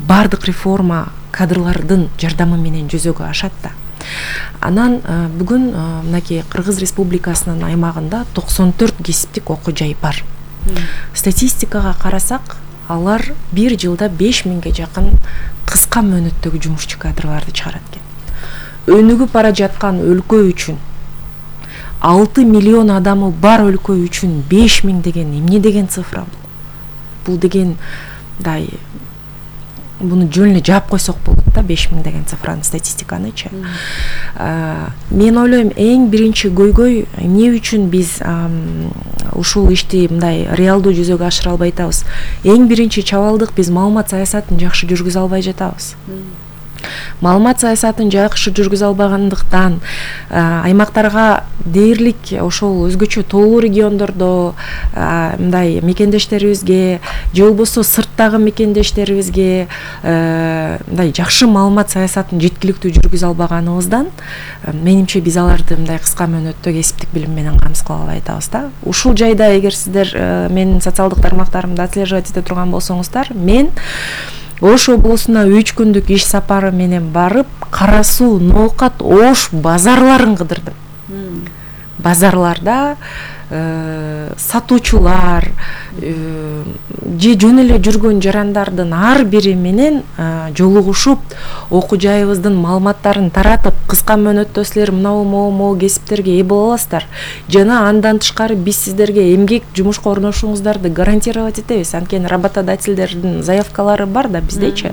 Бардык реформа кадрлардын жардамы менен жүзөгө ашат да. Анан бүгүн мынакей Кыргыз Республикасынын аймагында токсон төрт кесиптик окуу жай бар. Статистикага карасак, алар бир жылда беш миңге жакын кыска мөөнөттөгү жумушчу кадрларды чыгарат экен. Өнүгүп бара жаткан өлкө үчүн, алты миллион адамы бар өлкө үчүн беш миң деген эмне деген цифра бул? Бул деген дай буну жөн эле жаап койсок болот да, беш миң деген цифраны, статистиканычы. Мен ойлойм, эң биринчи көйгөй эмне үчүн биз ушул ишти мындай реалдуу жүзөгө ашыра албай атабыз? Эң биринчи чабалдык биз маалымат саясатын жакшы жүргүзө албай жатабыз. Маалымат саясатын жакшы жүргүзө албагандыктан аймактарга дээрлик ошол өзгөчө тоолуу региондордо мындай мекендештерибизге же болбосо сырттагы мекендештерибизге мындай жакшы маалымат саясатын жеткиликтүү жүргүзө албаганыбыздан менимче биз аларды мындай кыска мөөнөттө кесиптик билим менен камсыз кыла албай атабыз да. Ушул жайда эгер сиздер менин социалдык тармактарымды отслеживать эте турган болсоңуздар, мен Ош облусуна үч күндүк иш сапары менен барып, Кара Суу, Ноокат, Ош базарларын кыдырдым. Базарларда сатуучулар же жөн эле жүргөн жарандардын ар бири менен жолугушуп, окуу жайыбыздын маалыматтарын таратып, кыска мөөнөттө силер мынау могу кесиптерге ээ боло аласыздар. Жана андан тышкары биз сиздерге эмгек жумушка орношуңуздарды гарантировать этебиз. Анткени работодательдердин заявкалары бар да биздечи.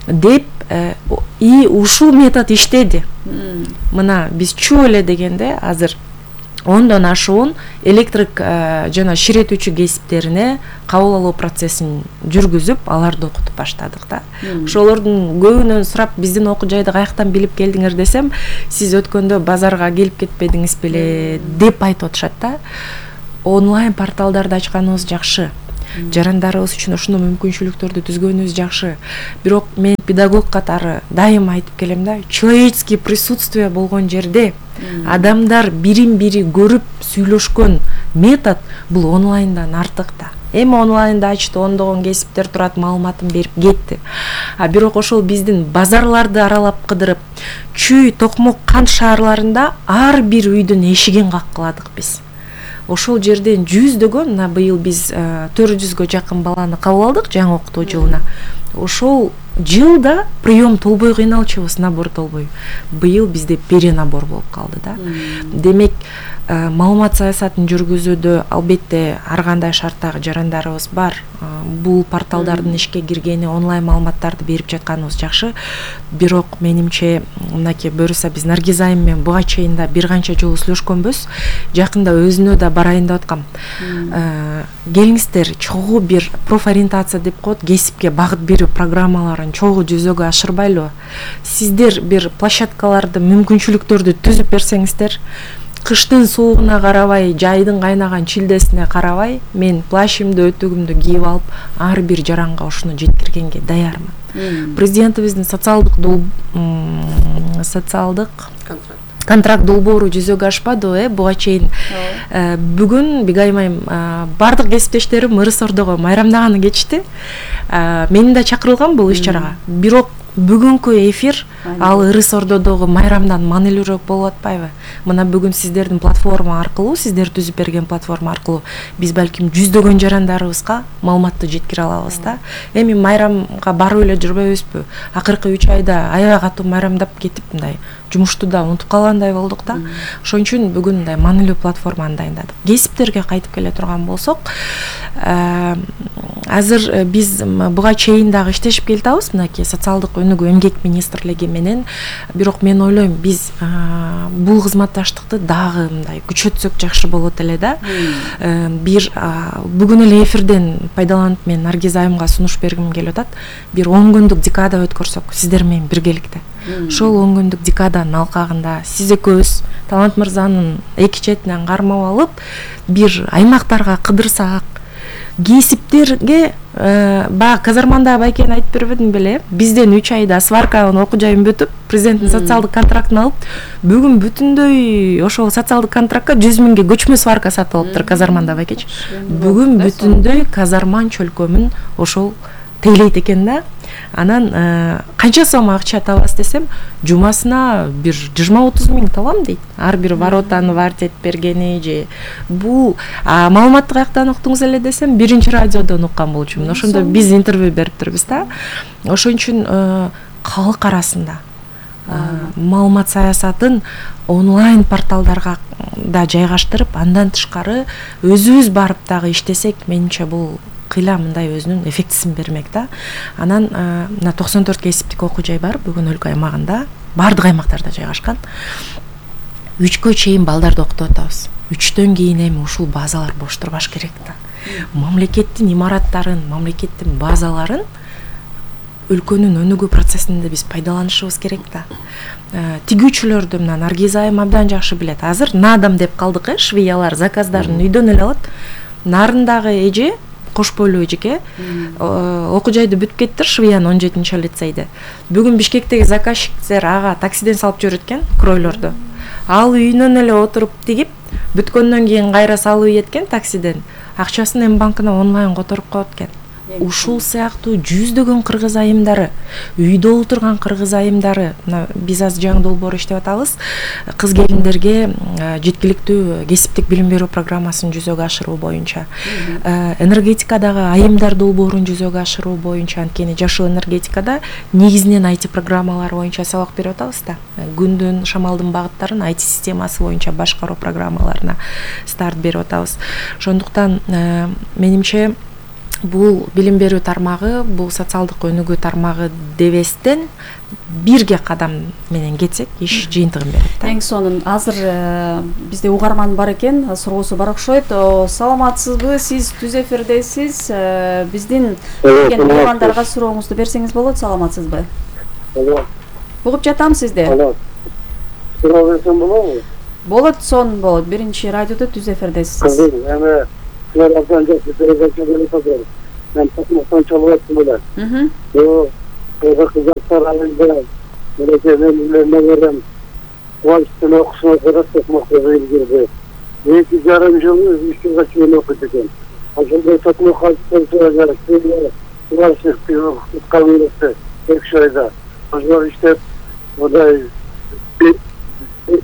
Деп и ушул метод иштеди. Мына биз чуу эле дегенде азыр ондон ашуун электрик жана ширетүүчү кесиптерине кабыл алуу процессин жүргүзүп аларды окутуп баштадык да. Ошолордун көбүнөн сурап, биздин окуу жайды каяктан билип келдиңер десем, сиз өткөндө базарга келип кетпедиңиз беле деп айтып атышат да. Онлайн порталдарды ачканыбыз жакшы. Жарандарыбыз үчүн ушундой мүмкүнчүлүктөрдү түзгөнүбүз жакшы. Бирок мен педагог катары дайыма айтып келем да, человеческий присутствие болгон жерде адамдар бирин бири көрүп сүйлөшкөн метод бул онлайндан артык да. Эми онлайнда ачты, ондогон кесиптер турат, маалыматын берип кетти. А бирок ошол биздин базарларды аралап кыдырып, Чүй, Токмок, Кант шаарларында ар бир үйдүн эшигин каккыладык биз. Ошол жерден жүздөгөн, мына быйыл биз төрт жүзгө жакын баланы кабыл алдык жаңы окутуу жылына. Ошол жылда прием толбой кыйналчубуз, набор толбой. Быйыл бизде перенабор болуп калды да. Демек, маалымат саясатын жүргүзүүдө албетте ар кандай шарттагы жарандарыбыз бар. Бул порталдардын ишке киргени, онлайн маалыматтарды берип жатканыбыз жакшы. Бирок менимче, мынакей буюрса биз Наргиз айым менен буга чейин да бир канча жолу сүйлөшкөнбүз. Жакында өзүнө да барайын деп аткам. Келиңиздер, чогуу бир профориентация деп коет, кесипке багыт берүү программаларын чогуу жүзөгө ашырбайлы. Сиздер бир площадкаларды, мүмкүнчүлүктөрдү түзүп берсеңиздер, кыштын суугуна карабай, жайдын кайнаган чилдесине карабай, мен плащымды, өтүгүмдү кийип алып, ар бир жаранга ушуну жеткиргенге даярмын. Президентибиздин социалдык социалдык контракт долбоору жүзөгө ашпады, э, буга чейин. Бүгүн Бигайым айым бардык кесиптештерим ырыс ордого майрамдаганы кетишти. Мени да чакырылган бул иш-чарага. Бирок бүгүнкү эфир ал ырыс ордодогу майрамдан маанилүүрөөк болуп атпайбы? Мына бүгүн сиздердин платформа аркылуу, сиздер түзүп берген платформа аркылуу биз балким жүздөгөн жарандарыбызга маалыматты жеткире алабыз да. Эми майрамга барып эле жүрбөйбүзбү? Акыркы үч айда аябай катуу майрамдап кетип, мындай жумушту да унутуп калгандай болдук да. Ошон үчүн бүгүн мындай маанилүү платформаны дайындадык. Кесиптерге кайтып келе турган болсок, азыр биз буга чейин дагы иштешип келатабыз, мынакей социалдык өнүгүү эмгек министрлиги менен. Бирок мен ойлойм, биз бул кызматташтыкты дагы мындай күчөтсөк жакшы болот эле да. Бир бүгүн эле эфирден пайдаланып мен Наргиз айымга сунуш бергим келип атат. Бир он күндүк декада өткөрсөк сиздер менен биргеликте. Ошол он күндүк декаданын алкагында сиз экөөбүз Талант мырзанын эки четинен кармап алып, бир аймактарга кыдырсак, кесиптерге баягы казарманда байкен айтып бербедим беле, бизден үч айда сварканын окуу жайын бүтүп, президенттин социалдык контрактын алып, бүгүн бүтүндөй ошол социалдык контрактка жүз миңге көчмө сварка сатып алыптыр казарманда байкеч. Бүгүн бүтүндөй казарман чөлкөмүн ошол тейлейт экен да. Анан канча сом акча табасыз десем, жумасына бир жыйырма отуз миң табам дейт. Ар бир воротаны вартет бергени же бул маалыматты каяктан уктуңуз эле десем, биринчи радиодон уккан болчумун. Ошондо биз интервью бериптирбиз да. Ошон үчүн калк арасында маалымат саясатын онлайн порталдарга да жайгаштырып, андан тышкары өзүбүз барып дагы иштесек, менимче бул кыйла мындай өзүнүн эффектисин бермек да. Анан мына токсон төрт кесиптик окуу жай бар бүгүн өлкө аймагында, бардык аймактарда жайгашкан. Үчкө чейин балдарды окутуп атабыз. Үчтөн кийин эми ушул базалар бош турбаш керек да. Мамлекеттин имараттарын, мамлекеттин базаларын өлкөнүн өнүгүү процессинде биз пайдаланышыбыз керек да. Тигүүчүлөрдү мына Наргиз айым абдан жакшы билет. Азыр надам деп калдык, э, швеялар заказдарын үйдөн эле алат. Нарындагы эже, кош бойлуу эжеке, окуу жайды бүтүп кеттир, Швеянын он жетинчи лицейде. Бүгүн Бишкектеги заказчиктер ага таксиден салып жүрөт экен кройлорду. Ал үйүнөн эле отуруп тигип, бүткөндөн кийин кайра салып ийеткен таксиден. Акчасын эми банкына онлайн которуп коет экен. Ушул сыяктуу жүздөгөн кыргыз айымдары, үйдө отурган кыргыз айымдары, биз азыр жаңы долбоор иштеп атабыз, кыз келиндерге жеткиликтүү кесиптик билим берүү программасын жүзөгө ашыруу боюнча, энергетикадагы айымдар долбоорун жүзөгө ашыруу боюнча, анткени жашыл энергетикада негизинен ай ти программалар боюнча сабак берип атабыз да. Күндүн, шамалдын багыттарын ай ти системасы боюнча башкаруу программаларына старт берип атабыз. Ошондуктан менимче бул билим берүү тармагы, бул социалдык өнүгүү тармагы дебестен бирге кадам менен кетсек иш жыйынтыгын берет да.
Эң сонун азыр бизде угарман бар экен, суроосу бар окшойт. Саламатсызбы? Сиз түз эфирдесиз. Биздин келген меймандарга сурооңузду берсеңиз болот. Саламатсызбы? Угуп жатам сизди.
Алло. Суроо берсем болобу?
Болот, сонун болот. Биринчи радиодо түз эфирдесиз.
Эми силер абдан жакшы передача берип атасыздар. Мен Токмоктон чалып аттым эле.
Мм.
Yo, kızı kızaklar halinde melekelerimle veren Kuvaş'tan okusuna kadar Tokmak'ta girdi. İki yarım yıl üç yıl kaçıyla okudum. Aslında Tokmak halktan sonra gerekti. Kuvaş'ın kabinesi tek şeyde. Aslında işte o da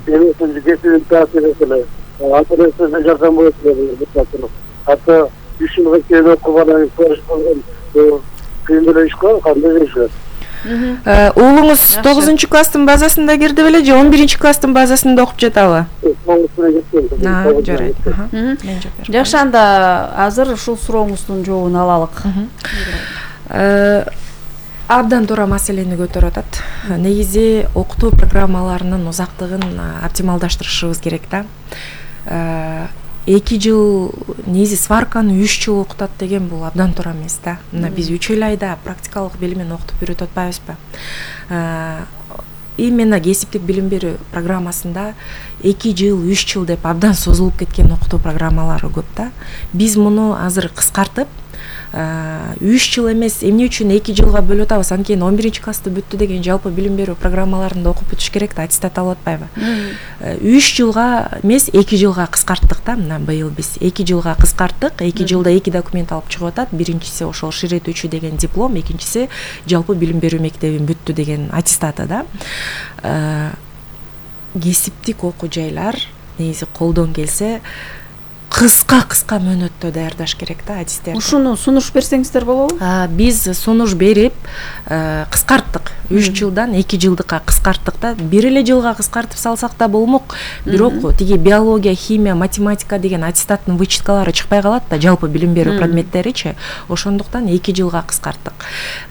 benim sözü getirin tatil ettiler. Arkadaşlar yardım ettiler. Hatta üç yıl kaçıyla okumadan Kuvaş'ın күйүндө иш кылып кандай жашайт?
Уулуңуз тогузунчу класстын базасында кирди беле же он биринчи класстын базасында окуп жатабы? Жарайт.
Жакшы, анда азыр ушул сурооңуздун жообун алалык.
Абдан туура маселени көтөрүп атат. Негизи окутуу программаларынын узактыгын оптималдаштырышыбыз керек да. эки жыл негизи сварканы үч жыл окутат деген бул абдан туура эмес да. Мына биз үч эл айда практикалык билимин окутуп үйрөтүп атпайбызбы? Именно кесиптик билим берүү программасында эки жыл, үч жыл деп абдан созулуп кеткен окутуу программалары көп да. Биз муну азыр кыскартып үч жыл эмес, эмне үчүн эки жылга бөлүп атабыз? Анткени он биринчи классты бүттү деген жалпы билим берүү программаларында окуп бүтүш керек да, аттестат алып атпайбы? үч жылга эмес, эки жылга кыскарттык да. Мына быйыл биз эки жылга кыскарттык. эки жылда эки документ алып чыгып атат. Биринчиси ошол ширетүүчү деген диплом, экинчиси жалпы билим берүү мектебин бүттү деген аттестаты да. Кесиптик окуу жайлар негизи колдон келсе кыска-кыска мөөнөттө даярдаш керек да адистерди.
Ушуну сунуш берсеңиздер болобу?
Биз сунуш берип кыскарттык. үч жылдан эки жылдыкка кыскарттык да. Бир эле жылга кыскартып салсак да болмок. Бирок тиги биология, химия, математика деген аттестаттын вычеткалары чыкпай калат да, жалпы билим берүү предметтеричи. Ошондуктан эки жылга кыскарттык.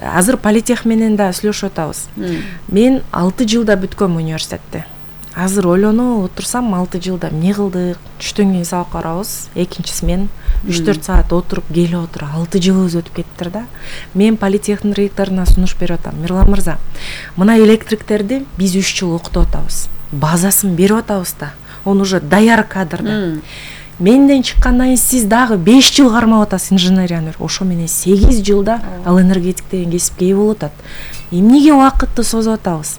Азыр политех менен да сүйлөшүп атабыз. Мен алты жылда бүткөм университетти. Азыр ойлонуп отурсам, алты жылда эмне кылдык? Түштөн кийин сабак барабыз. Экинчиси мен үч төрт саат отуруп келип отур. алты жылыбыз өтүп кеттир да. Мен политехтин ректоруна сунуш берип атам. Мирлан мырза, мына электриктерди биз үч жыл окутуп атабыз. Базасын берип атабыз да. Он уже даяр кадр да. Менден чыккандан кийин сиз дагы беш жыл кармап атасыз инженерияны. Ошо менен сегиз жылда ал энергетик деген кесипке ээ болуп атат. Эмнеге убакытты созуп атабыз?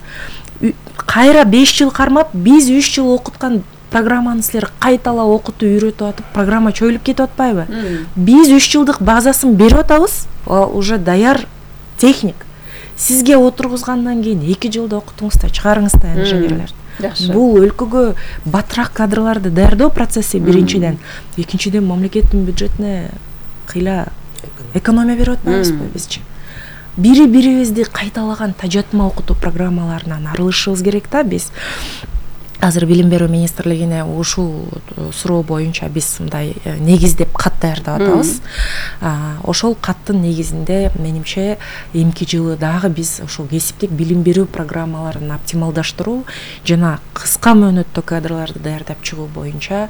Кайра беш жыл кармап, биз үч жыл окуткан программаны силер кайталап окутуп үйрөтүп атып, программа чөйүлүп кетип атпайбы? Биз үч жылдык базасын берип атабыз, ал уже даяр техник. Сизге отургузгандан кийин эки жылда окутуңуз да, чыгарыңыз да инженерлерди. Бул өлкөгө батыраак кадрларды даярдоо процесси биринчиден. Экинчиден мамлекеттин бюджетине кыйла экономия берип атпайбызбы бизчи? Бири-бирибизди кайталаган тажатма окутуу программаларынан арылышыбыз керек да биз. Азыр билим берүү министрлигине ушул суроо боюнча биз мындай негиздеп кат даярдап атабыз. Ошол каттын негизинде менимче эмки жылы дагы биз ошол кесиптик билим берүү программаларын оптималдаштыруу жана кыска мөөнөттө кадрларды даярдап чыгуу боюнча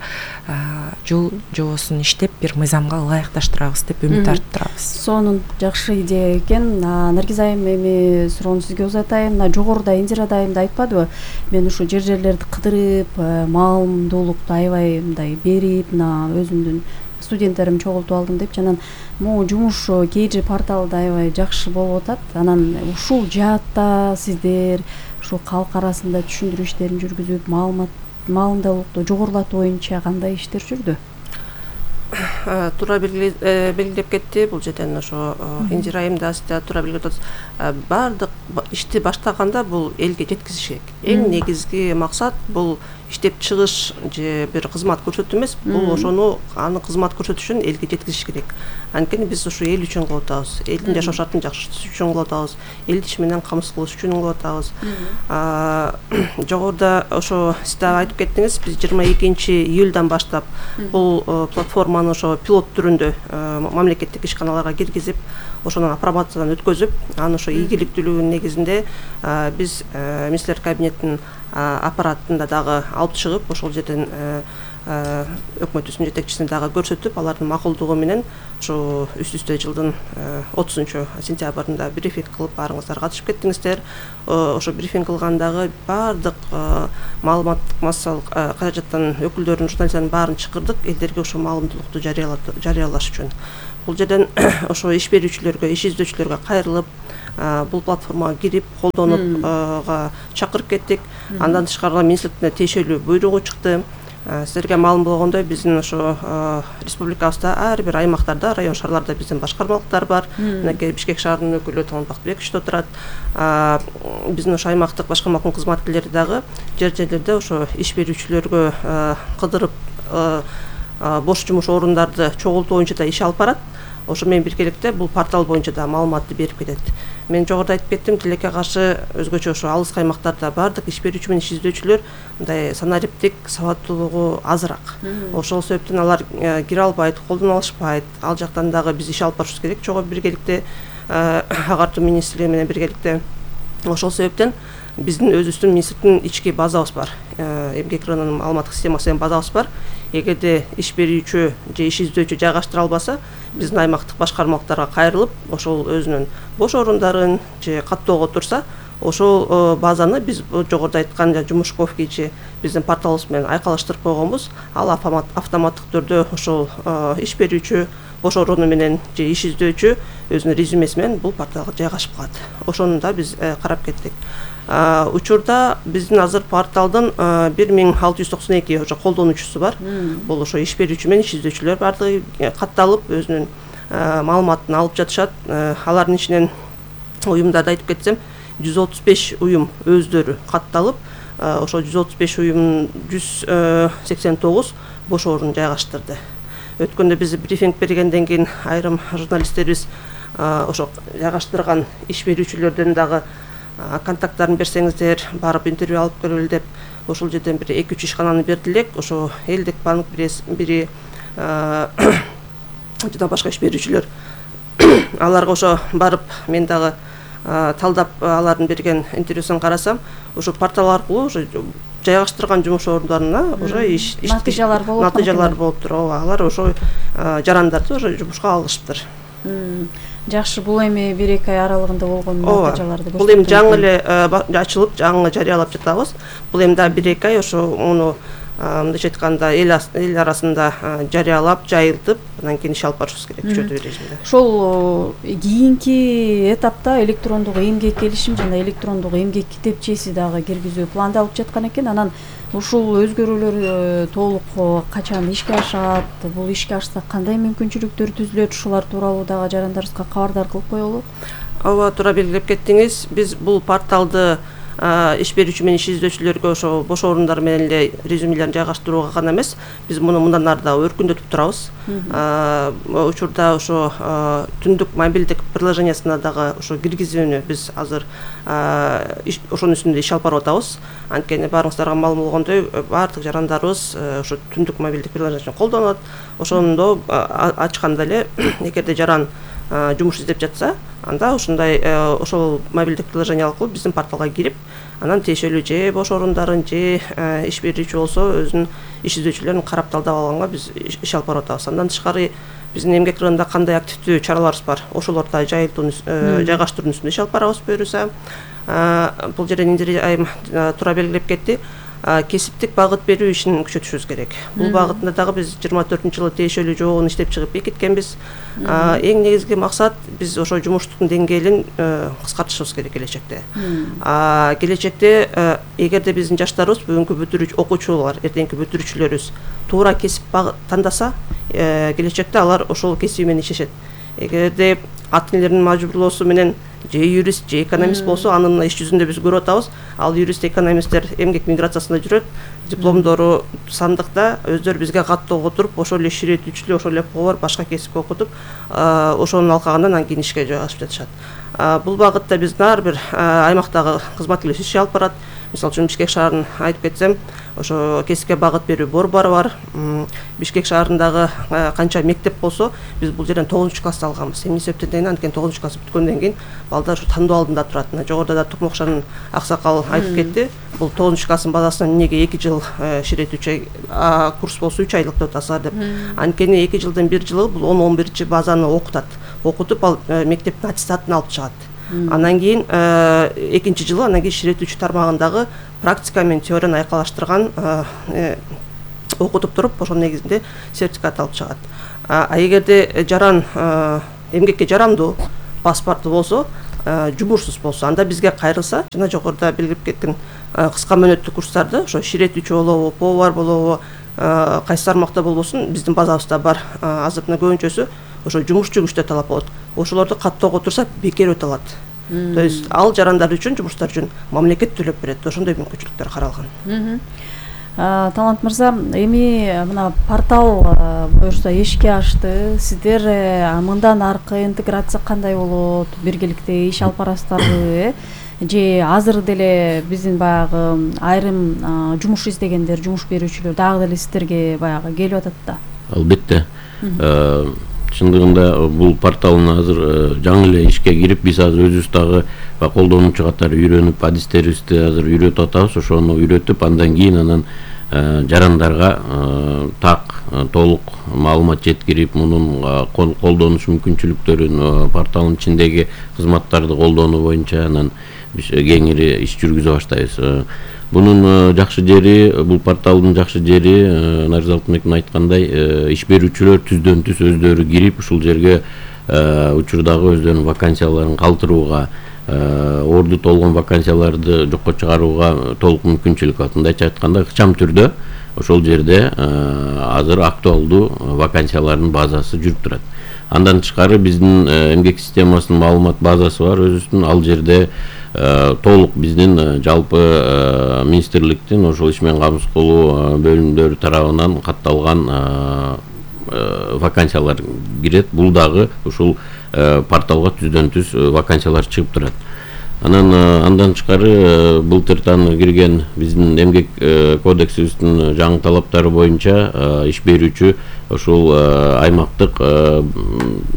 жол жобосун иштеп бир мыйзамга ылайыкташтырабыз деп үмүт артып турабыз.
Сонун жакшы идея экен. Наргиз айым, эми суроону сизге узатайын. Мына жогоруда Индира айым да айтпадыбы? Мен ушу жер-жерлерди кыдырып, маалымдуулукту аябай мындай берип, мына өзүмдүн студенттерим чогултуп алдым деп, жанан могу жумуш Кейджи порталында аябай жакшы болуп атат. Анан ушул жаатта сиздер ушу калк арасында түшүндүрүү иштерин жүргүзүп, маалымат маалымдуулукту жогорулатуу боюнча кандай иштер жүрдү?
Туура белгилеп кетти. Бул жерден ошо Индира айым да сиз да туура белгилеп атасыз. Баардык ишти баштаганда бул элге жеткизиш керек. Эң негизги максат бул иштеп чыгыш же бир кызмат көрсөтүү эмес, бул ошону аны кызмат көрсөтүшүн элге жеткизиш керек. Анткени биз ушу эл үчүн кылып атабыз. Элдин жашоо шартын жакшыртыш үчүн кылып атабыз. Элди иш менен камсыз кылыш үчүн кылып атабыз. Жогоруда ошо сиз дагы айтып кеттиңиз, биз жыйырма экинчи июлдан баштап бул платформаны ошо ошо пилот түрүндө мамлекеттик ишканаларга киргизип, ошонун апробациядан өткөзүп, анын ошо ийгиликтүүлүгүнүн негизинде биз министрлер кабинетинин аппаратында дагы алып чыгып, ошол жерден өкмөтүбүздүн жетекчисине дагы көрсөтүп, алардын макулдугу менен ошо үстү үстө жылдын отузунчу сентябрында брифинг кылып, баарыңыздар катышып кеттиңиздер. Ошо брифинг кылгандагы баардык маалыматтык массалык каражаттын өкүлдөрүн, журналисттердин баарын чакырдык, элдерге ошо маалымдуулукту жарыялаш үчүн. Бул жерден ошо иш берүүчүлөргө, иш издөөчүлөргө кайрылып, бул платформага кирип, колдонупга чакырып кеттик. Андан тышкары министрликтен тиешелүү буйругу чыкты. Силерге маалым болгондой, биздин ошо республикабызда ар бир аймактарда, район шаарларда биздин башкармалыктар бар. Мынакей Бишкек шаарынын өкүлү Толмон Бактыбекович отурат. Биздин ошо аймактык башкармалыктын кызматкерлери дагы жер жерлерде ошо иш берүүчүлөргө кыдырып, бош жумуш орундарды чогултуу боюнча да иш алып барат. Ошо менен биргеликте бул портал боюнча да маалыматты берип кетет. Мен жогоруда айтып кеттим, тилекке каршы өзгөчө ошо алыс аймактарда баардык иш берүүчү менен иш издөөчүлөр мындай санариптик сабаттуулугу азыраак. Ошол себептен алар кире албайт, колдоно алышпайт. Ал жактан дагы биз иш алып барышыбыз керек, чогуу биргеликте агартуу министрлиги менен биргеликте. Ошол себептен биздин өзүбүздүн министрликтин ички базабыз бар. Эмгек рыногунун маалыматтык системасы деген базабыз бар. Эгерде иш берүүчү же иш издөөчү жайгаштыра албаса, биздин аймактык башкармалыктарга кайрылып, ошол өзүнүн бош орундарын же каттоого турса, ошол базаны биз жогоруда айткан жумушковки же биздин порталыбыз менен айкалыштырып койгонбуз. Ал автоматтык түрдө ошол иш берүүчү бош орунду менен же иш издөөчү өзүнүн резюмеси менен бул порталга жайгашып калат. Ошону да биз карап кеттик. Учурда биздин азыр порталдын бир миң алты жүз токсон эки ошо колдонуучусу бар. Бул ошо иш берүүчү менен иш издөөчүлөр бардыгы катталып, өзүнүн маалыматын алып жатышат. Алардын ичинен уюмдарды айтып кетсем, жүз отуз беш уюм өздөрү катталып, ошо жүз отуз беш уюмдун жүз сексен тогуз бош орун жайгаштырды. Өткөндө биз брифинг бергенден кийин айрым журналисттерибиз ошо жайгаштырган иш берүүчүлөрдөн дагы контакттарын берсеңиздер, барып интервью алып көрөлү деп, ошол жерден бир эки үч ишкананы берди элек. Ошо элдик банк бири жана башка иш берүүчүлөр. Аларга ошо барып мен дагы талдап алардын берген интервьюсун карасам, ошо портал аркылуу ошо жайгаштырган жумуш орундарына уже иш
натыйжалар болуп
натыйжалар болуптур. Ооба, алар ошо жарандарды уже жумушка алышыптыр.
Жакшы, бул эми бир эки ай аралыгында болгон натыйжаларды көрсөтөт.
Бул эми жаңы эле ачылып, жаңы жарыялап жатабыз. Бул эми дагы бир эки ай ошо муну мындайча айтканда эл арасында жарыялап, жайылтып, андан кийин иш алып барышыбыз керек күчөтүү режимде.
Ошол кийинки этапта электрондук эмгек келишим жана электрондук эмгек китепчеси дагы киргизүү пландалып жаткан экен. Анан ушул өзгөрүүлөр толук качан ишке ашат? Бул ишке ашса кандай мүмкүнчүлүктөр түзүлөт? Ушулар тууралуу дагы жарандарыбызга кабардар кылып коелу.
Ооба, туура белгилеп кеттиңиз. Биз бул порталды иш берүүчү менен иш издөөчүлөргө ошо бош орундар менен эле резюмелерин жайгаштырууга гана эмес, биз муну мындан ары да өркүндөтүп турабыз. Учурда ошо түндүк мобилдик приложениясына дагы ошо киргизүүнү биз азыр ошонун үстүндө иш алып барып атабыз. Анткени баарыңыздарга маалым болгондой, баардык жарандарыбыз ошо түндүк мобилдик приложениясын колдонот. Ошондо ачканда эле эгерде жаран жумуш издеп жатса, анда ушундай ошол мобилдик приложение аркылуу биздин порталга кирип, анан тиешелүү же бош орундарын же иш берүүчү болсо өзүнүн иш издөөчүлөрүн карап талдап алганга биз иш алып барып атабыз. Андан тышкары биздин эмгек рыногунда кандай активдүү чараларыбыз бар, ошолорду жайылтууну жайгаштыруунун үстүндө иш алып барабыз буюрса. Бул жерден айым туура белгилеп кетти. Кесиптик багыт берүү ишин күчөтүшүбүз керек. Бул багытында дагы биз жыйырма төртүнчү жылы тиешелүү жообун иштеп чыгып бекиткенбиз. Эң негизги максат биз ошо жумуштук деңгээлин кыскартышыбыз керек келечекте. Келечекте эгерде биздин жаштарыбыз, бүгүнкү бүтүрүүчү окуучулар, эртеңки бүтүрүүчүлөрүбүз туура кесип тандаса, келечекте алар ошол кесиби менен иштешет. Эгерде ата энелердин мажбурлоосу менен же юрист, же экономист болсо, анын иш жүзүндө биз көрүп атабыз. Ал юрист, экономисттер эмгек миграциясында жүрөт, дипломдору сандыкта, өздөрү бизге каттоого туруп, ошол эле иш иреттүүчүлүк, ошол эле повар, башка кесип окутуп, ошонун алкагында анан кийин ишке жайгашып жатышат. Бул багытта биздин ар бир аймактагы кызматкерлерибиз иш алып барат. мисалы үчүн Бишкек шаарын айтып кетсем, ошо кесипке багыт берүү борбору бар. Бишкек шаарындагы канча мектеп болсо, биз бул жерден тогузунчу классты алганбыз. Эмне себептен дегенде, анткени тогузунчу класс бүткөндөн кийин балдар ушу тандоо алдында турат. Жогоруда да Тукмокшанын аксакал айтып кетти. Бул тогузунчу класстын базасынан эмнеге эки жыл ширет үч ай курс болсо үч айлык деп атасызар деп. Анткени эки жылдын бир жылы бул он он биринчи базаны окутат. Окутуп ал мектептин аттестатын алып чыгат. Андан кийин экинчи жылы анан кийин ширет үч тармагындагы практика менен теорияны айкалаштырган окутуп туруп, ошонун негизинде сертификат алып чыгат. А эгерде жаран эмгекке жарамдуу паспорту болсо, жумушсуз болсо, анда бизге кайрылса, жана жогоруда белгилеп кеткен кыска мөөнөттүү курстарды, ошо ширет үч болобу, повар болобу, кайсы тармакта болбосун, биздин базабызда бар. Азыр мына көбүнчөсү ошо жумушчу күчтө талап болот. Ошолорду каттоого турса бекер өтө алат. То есть ал жарандар үчүн, жумуштар үчүн мамлекет төлөп берет. Ошондой мүмкүнчүлүктөр каралган.
Талант мырза, эми мына портал буюрса ишке ашты. Сиздер мындан аркы интеграция кандай болот? Биргеликте иш алып барасыздарбы? Же азыр деле биздин баягы айрым жумуш издегендер, жумуш берүүчүлөр дагы деле сиздерге баягы келип атат да?
Албетте. Чындыгында бул порталдын азыр жаңы эле ишке кирип, биз азыр өзүбүз дагы колдонуучу катары үйрөнүп, адистерибизди азыр үйрөтүп атабыз. Ошону үйрөтүп, андан кийин анан жарандарга так толук маалымат жеткирип, мунун колдонуш мүмкүнчүлүктөрүн, порталдын ичиндеги кызматтарды колдонуу боюнча анан кеңири иш жүргүзө баштайбыз. Bunun жакшы жери, бул порталдын жакшы жери, Нарза Алтынбектин айткандай, иш берүүчүлөр түздөн түз өздөрү кирип, ушул жерге учурдагы өздөрүнүн вакансияларын калтырууга, орду толгон вакансияларды жокко чыгарууга толук мүмкүнчүлүк бар. Мындайча айтканда, ыкчам түрдө ошол жерде азыр актуалдуу вакансиялардын базасы жүрүп турат. Андан тышкары биздин эмгек системасынын маалымат базасы бар өзүбүздүн, ал жерде толук биздин жалпы министрликтин ошол иш менен камсыз кылуу бөлүмдөрү тарабынан катталган вакансиялар кирет. Бул дагы ушул порталга түздөн түз вакансиялар чыгып турат. Анан андан тышкары былтыртан кирген биздин эмгек кодексибиздин жаңы талаптары боюнча иш берүүчү ошол аймактык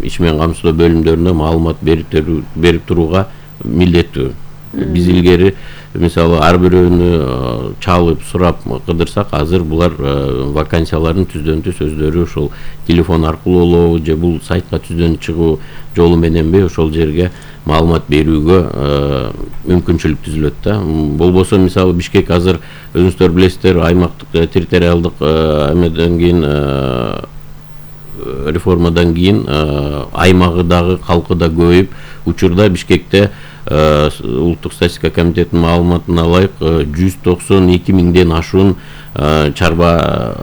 иш менен камсыздоо бөлүмдөрүнө маалымат берип турууга милдеттүү. Биз илгери мисалы ар бирөөнү чалып сурап кыдырсак, азыр булар вакансияларын түздөн түз өздөрү ошол телефон аркылуу болобу же бул сайтка түздөн чыгуу жолу мененби ошол жерге маалымат берүүгө мүмкүнчүлүк түзүлөт да. Болбосо мисалы Бишкек азыр өзүңүздөр билесиздер, аймактык территориалдык эмеден кийин реформадан кийин аймагы дагы калкы да көбөйүп, учурда Бишкекте улуттук статистика комитетинин маалыматына ылайык жүз токсон эки миңден ашуун чарба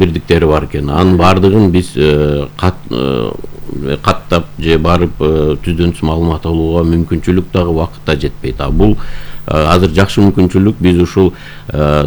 бирдиктери бар экен. Анын баардыгын биз каттап же барып түздөн түз маалымат алууга мүмкүнчүлүк дагы убакыт да жетпейт. А бул азыр жакшы мүмкүнчүлүк, биз ушул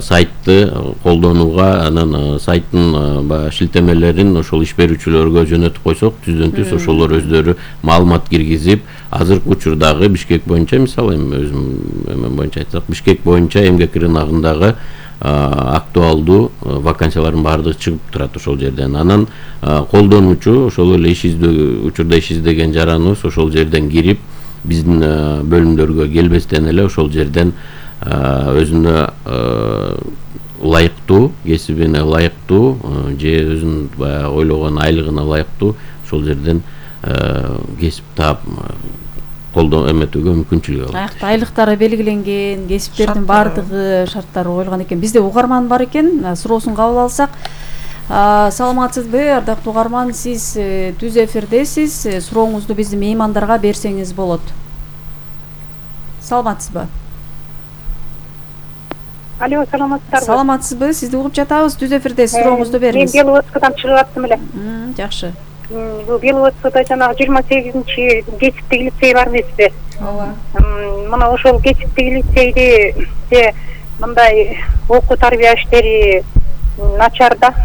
сайтты колдонууга, анан сайттын баягы шилтемелерин ошол иш берүүчүлөргө жөнөтүп койсок, түздөн түз ошолор өздөрү маалымат киргизип, азыркы учурдагы Бишкек боюнча, мисалы эми өзүм эмен боюнча айтсак, Бишкек боюнча эмгек рыногундагы актуалдуу вакансиялардын баардыгы чыгып турат ошол жерден. Анан колдонуучу ошол эле иш издөө учурда иш издеген жараныбыз ошол жерден кирип, биздин бөлүмдөргө келбестен эле ошол жерден өзүнө ылайыктуу, кесибине ылайыктуу же өзүнүн баягы ойлогон айлыгына ылайыктуу ошол жерден кесип таап колдоо эметүүгө мүмкүнчүлүк алат.
Аякта айлыктары белгиленген, кесиптердин баардыгы шарттары коюлган экен. Бизде угарман бар экен, суроосун кабыл алсак. Саламатсызбы, ардактуу угарман, сиз түз эфирдесиз. Сурооңузду биздин меймандарга берсеңиз болот. Саламатсызбы?
Алло, саламатсыздарбы?
Саламатсызбы, сизди угуп жатабыз. Түз эфирдесиз, сурооңузду бериңиз.
Мен Беловодскадан чыгып аттым эле.
Жакшы.
Бул Беловодскада жанагы жыйырма сегизинчи кесиптик лицей бар эмеспи? Ооба. Мына ошол кесиптик лицейде мындай окуу тарбия иштери начар да.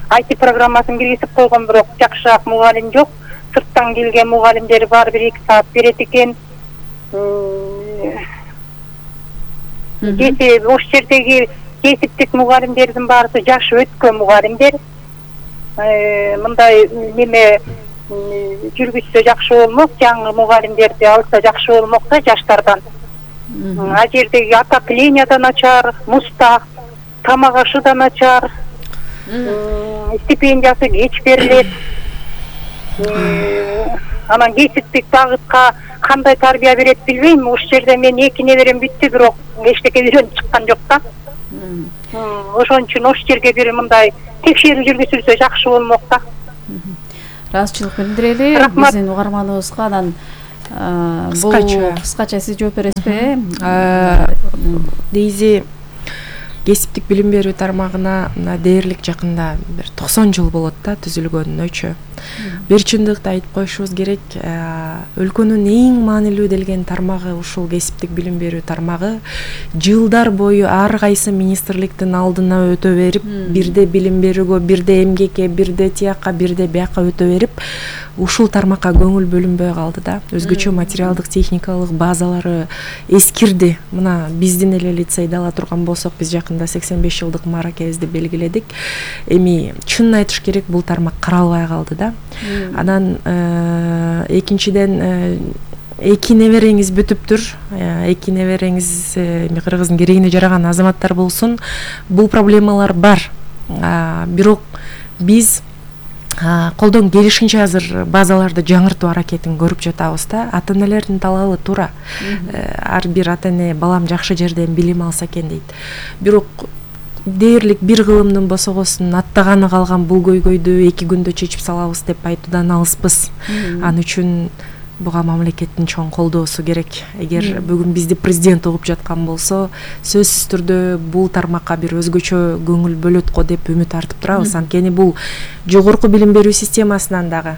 ай ти программасын киргизип койгон, бирок жакшыраак мугалим жок. Сырттан келген мугалимдер бар, бир эки саат берет экен. Жети ош жердеги кесиптик мугалимдердин баары жаш өткөн мугалимдер. Мындай неме жүргүзсө жакшы болмок, жаңы мугалимдерди алса жакшы болмок да жаштардан. А жердеги отопление да начар, муста, тамак ашы да начар, стипендиясы кеч берилет. Анан кесиптик багытка кандай тарбия берет билбейм. Ош жерде мен эки неберем бүттү, бирок эчтеке үйрөнүп чыккан жок да. Ошон үчүн ош жерге бир мындай текшерүү жүргүзүлсө жакшы болмок да.
Ыраазычылык билдирели биздин угарманыбызга. Анан бул кыскача сиз жооп бересизби?
Дейзи кесиптик билим берүү тармагына мына дээрлик жакында бир токсон жыл болот да түзүлгөнүнөчү. Бир чындыкты айтып коюшубуз керек, өлкөнүн эң маанилүү делген тармагы ушул кесиптик билим берүү тармагы жылдар бою ар кайсы министрликтин алдына өтө берип, бирде билим берүүгө, бирде эмгекке, бирде тияка, бирде бияка өтө берип, ушул тармакка көңүл бөлүнбөй калды да. Өзгөчө материалдык техникалык базалары эскирди. Мына биздин эле лицейди ала турган болсок, биз жакында сексен беш жылдык мааракебизди белгиледик. Эми чынын айтыш керек, бул тармак каралбай калды да. Анан экинчиден эки небереңиз бүтүптүр. Эки небереңиз эми кыргыздын керегине жараган азаматтар болсун. Бул проблемалар бар. Бирок биз колдон келишинче азыр базаларды жаңыртуу аракетин көрүп жатабыз да. Ата энелердин талабы туура. Ар бир ата эне балам жакшы жерден билим алса экен дейт. Бирок дээрлик бир кылымдын босогосун аттаганы калган бул көйгөйдү эки күндө чечип салабыз деп айтуудан алыспыз. Ал үчүн буга мамлекеттин чоң колдоосу керек. Эгер бүгүн бизди президент угуп жаткан болсо, сөзсүз түрдө бул тармакка бир өзгөчө көңүл бөлөт го деп үмүт артып турабыз. Анткени бул жогорку билим берүү системасынан дагы,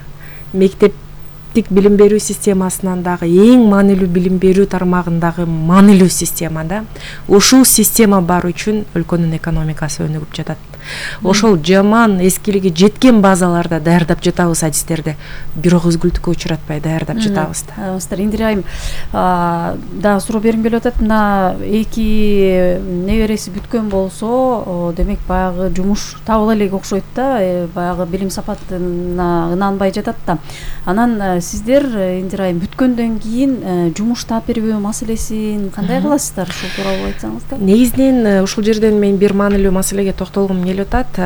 мектептик билим берүү системасынан дагы эң маанилүү билим берүү тармагындагы маанилүү система да. Ушул система бар үчүн өлкөнүн экономикасы өнүгүп жатат. Ошол жаман эскилиги жеткен базаларда даярдап жатабыз адистерди. Бирок үзгүлтүккө учуратпай даярдап жатабыз да.
Астар Индира айым да суроо бергим келип атат. Мына эки небереси бүткөн болсо, демек баягы жумуш табыла элек окшойт да, баягы билим сапатына ынанбай жатат да. Анан сиздер Индира айым бүткөндөн кийин жумуш таап берүү маселесин кандай кыласыздар? Ушул тууралуу айтсаңыз да.
Негизинен ушул жерден мен бир маанилүү маселеге токтолгум келип атат.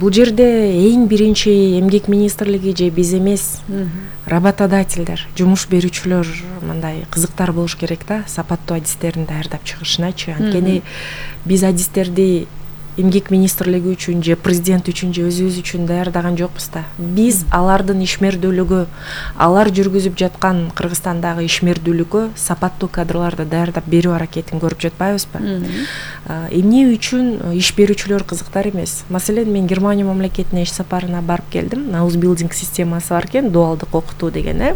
Бул жерде эң биринчи эмгек министрлиги же биз эмес, работодательдер, жумуш берүүчүлөр мындай кызыктар болуш керек да, сапаттуу адистерин даярдап чыгышыначы. Анткени биз адистерди эмгек министрлиги үчүн же президент үчүн же өзүбүз үчүн даярдаган жокпуз да. Биз алардын ишмердүүлүгү, алар жүргүзүп жаткан Кыргызстандагы ишмердүүлүккө сапаттуу кадрларды даярдап берүү аракетин көрүп жатпайбызбы? Эмне үчүн иш берүүчүлөр кызыктар эмес? Маселен, мен Германия мамлекетине иш сапарына барып келдим. Ausbildung системасы бар экен, дуалдык окутуу деген, э.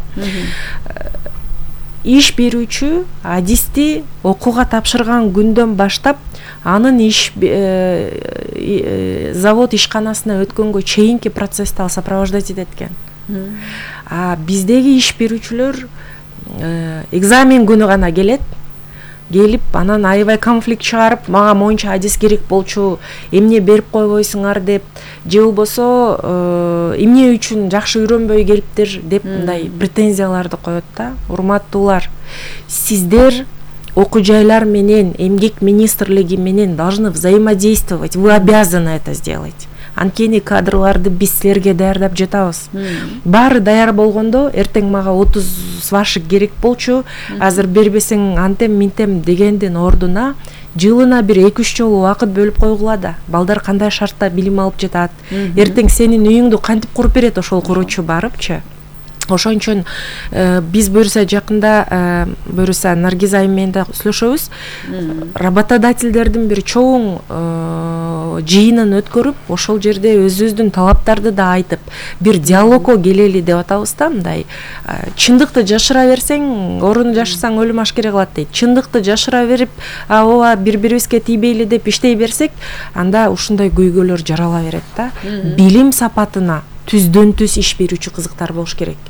Иш берүүчү адисти окууга тапшырган күндөн баштап анын иш завод ишканасына өткөнгө чейинки процессти ал сопровождать этет экен. А биздеги иш берүүчүлөр экзамен күнү гана келет. Келип, анан аябай конфликт чыгарып, мага моюнча адис керек болчу, эмне берип койбойсуңар деп, же болбосо эмне үчүн жакшы үйрөнбөй келиптир деп мындай претензияларды коет да. Урматтуулар, сиздер окуу жайлар менен, эмгек министрлиги менен должны взаимодействовать, вы обязаны это сделать. Анткени кадрларды биз силерге даярдап жатабыз. Баары даяр болгондо, эртең мага отуз свашик керек болчу, азыр бербесең антем минтем дегендин ордуна жылына бир эки үч жолу убакыт бөлүп койгула да. Балдар кандай шартта билим алып жатат, эртең сенин үйүңдү кантип куруп берет ошол куруучу барыпчы. Ошон үчүн биз буюрса жакында буюрса Наргиз айым менен да сүйлөшөбүз. Работодательдердин бир чоң жыйынын өткөрүп, ошол жерде өзүбүздүн талаптарды да айтып, бир диалогко келели деп атабыз да. Мындай чындыкты жашыра берсең, орун жашысаң өлүм ашкере кылат дейт. Чындыкты жашыра берип, ооба бири-бирибизге тийбейли деп иштей берсек, анда ушундай көйгөйлөр жарала берет да. Билим сапатына түздөн түз иш берүүчү кызыктар болуш керек.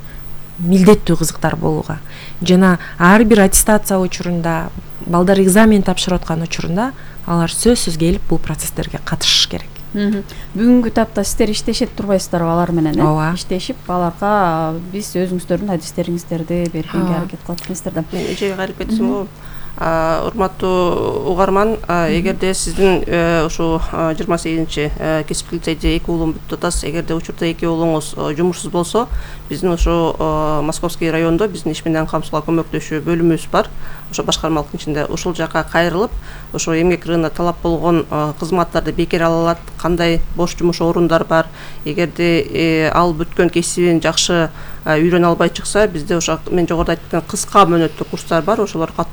Милдеттүү кызыктар болууга. Жана ар бир аттестация учурунда балдар экзамен тапшырып аткан учурунда алар сөзсүз келип бул процесстерге катышыш керек.
Бүгүнкү тапта сиздер иштешет турбайсыздарбы алар менен?
Ооба.
Иштешип аларга биз өзүңүздөрдүн адистериңиздерди бергенге аракет кылат экенсиздер да.
Мен эжеге кайрып кетсем, урматтуу угарман, эгерде сиздин ушу жыйырма сегизинчи кесиптик лицейде эки уулум бүтүп атасыз, эгерде учурда эки уулуңуз жумушсуз болсо, биздин ушу Московский райондо биздин иш менен камсыздоо көмөктөшүү бөлүмүбүз бар. Ошо башкармалыктын ичинде ушул жака кайрылып, ошо эмгек рыногуна талап болгон кызматтарды бекер ала алат, кандай бош жумуш орундар бар. Эгерде ал бүткөн кесибин жакшы үйрөнө албай чыкса, бизде ошо мен жогоруда айткан кыска мөөнөттүү курстар бар, ошолор каттоо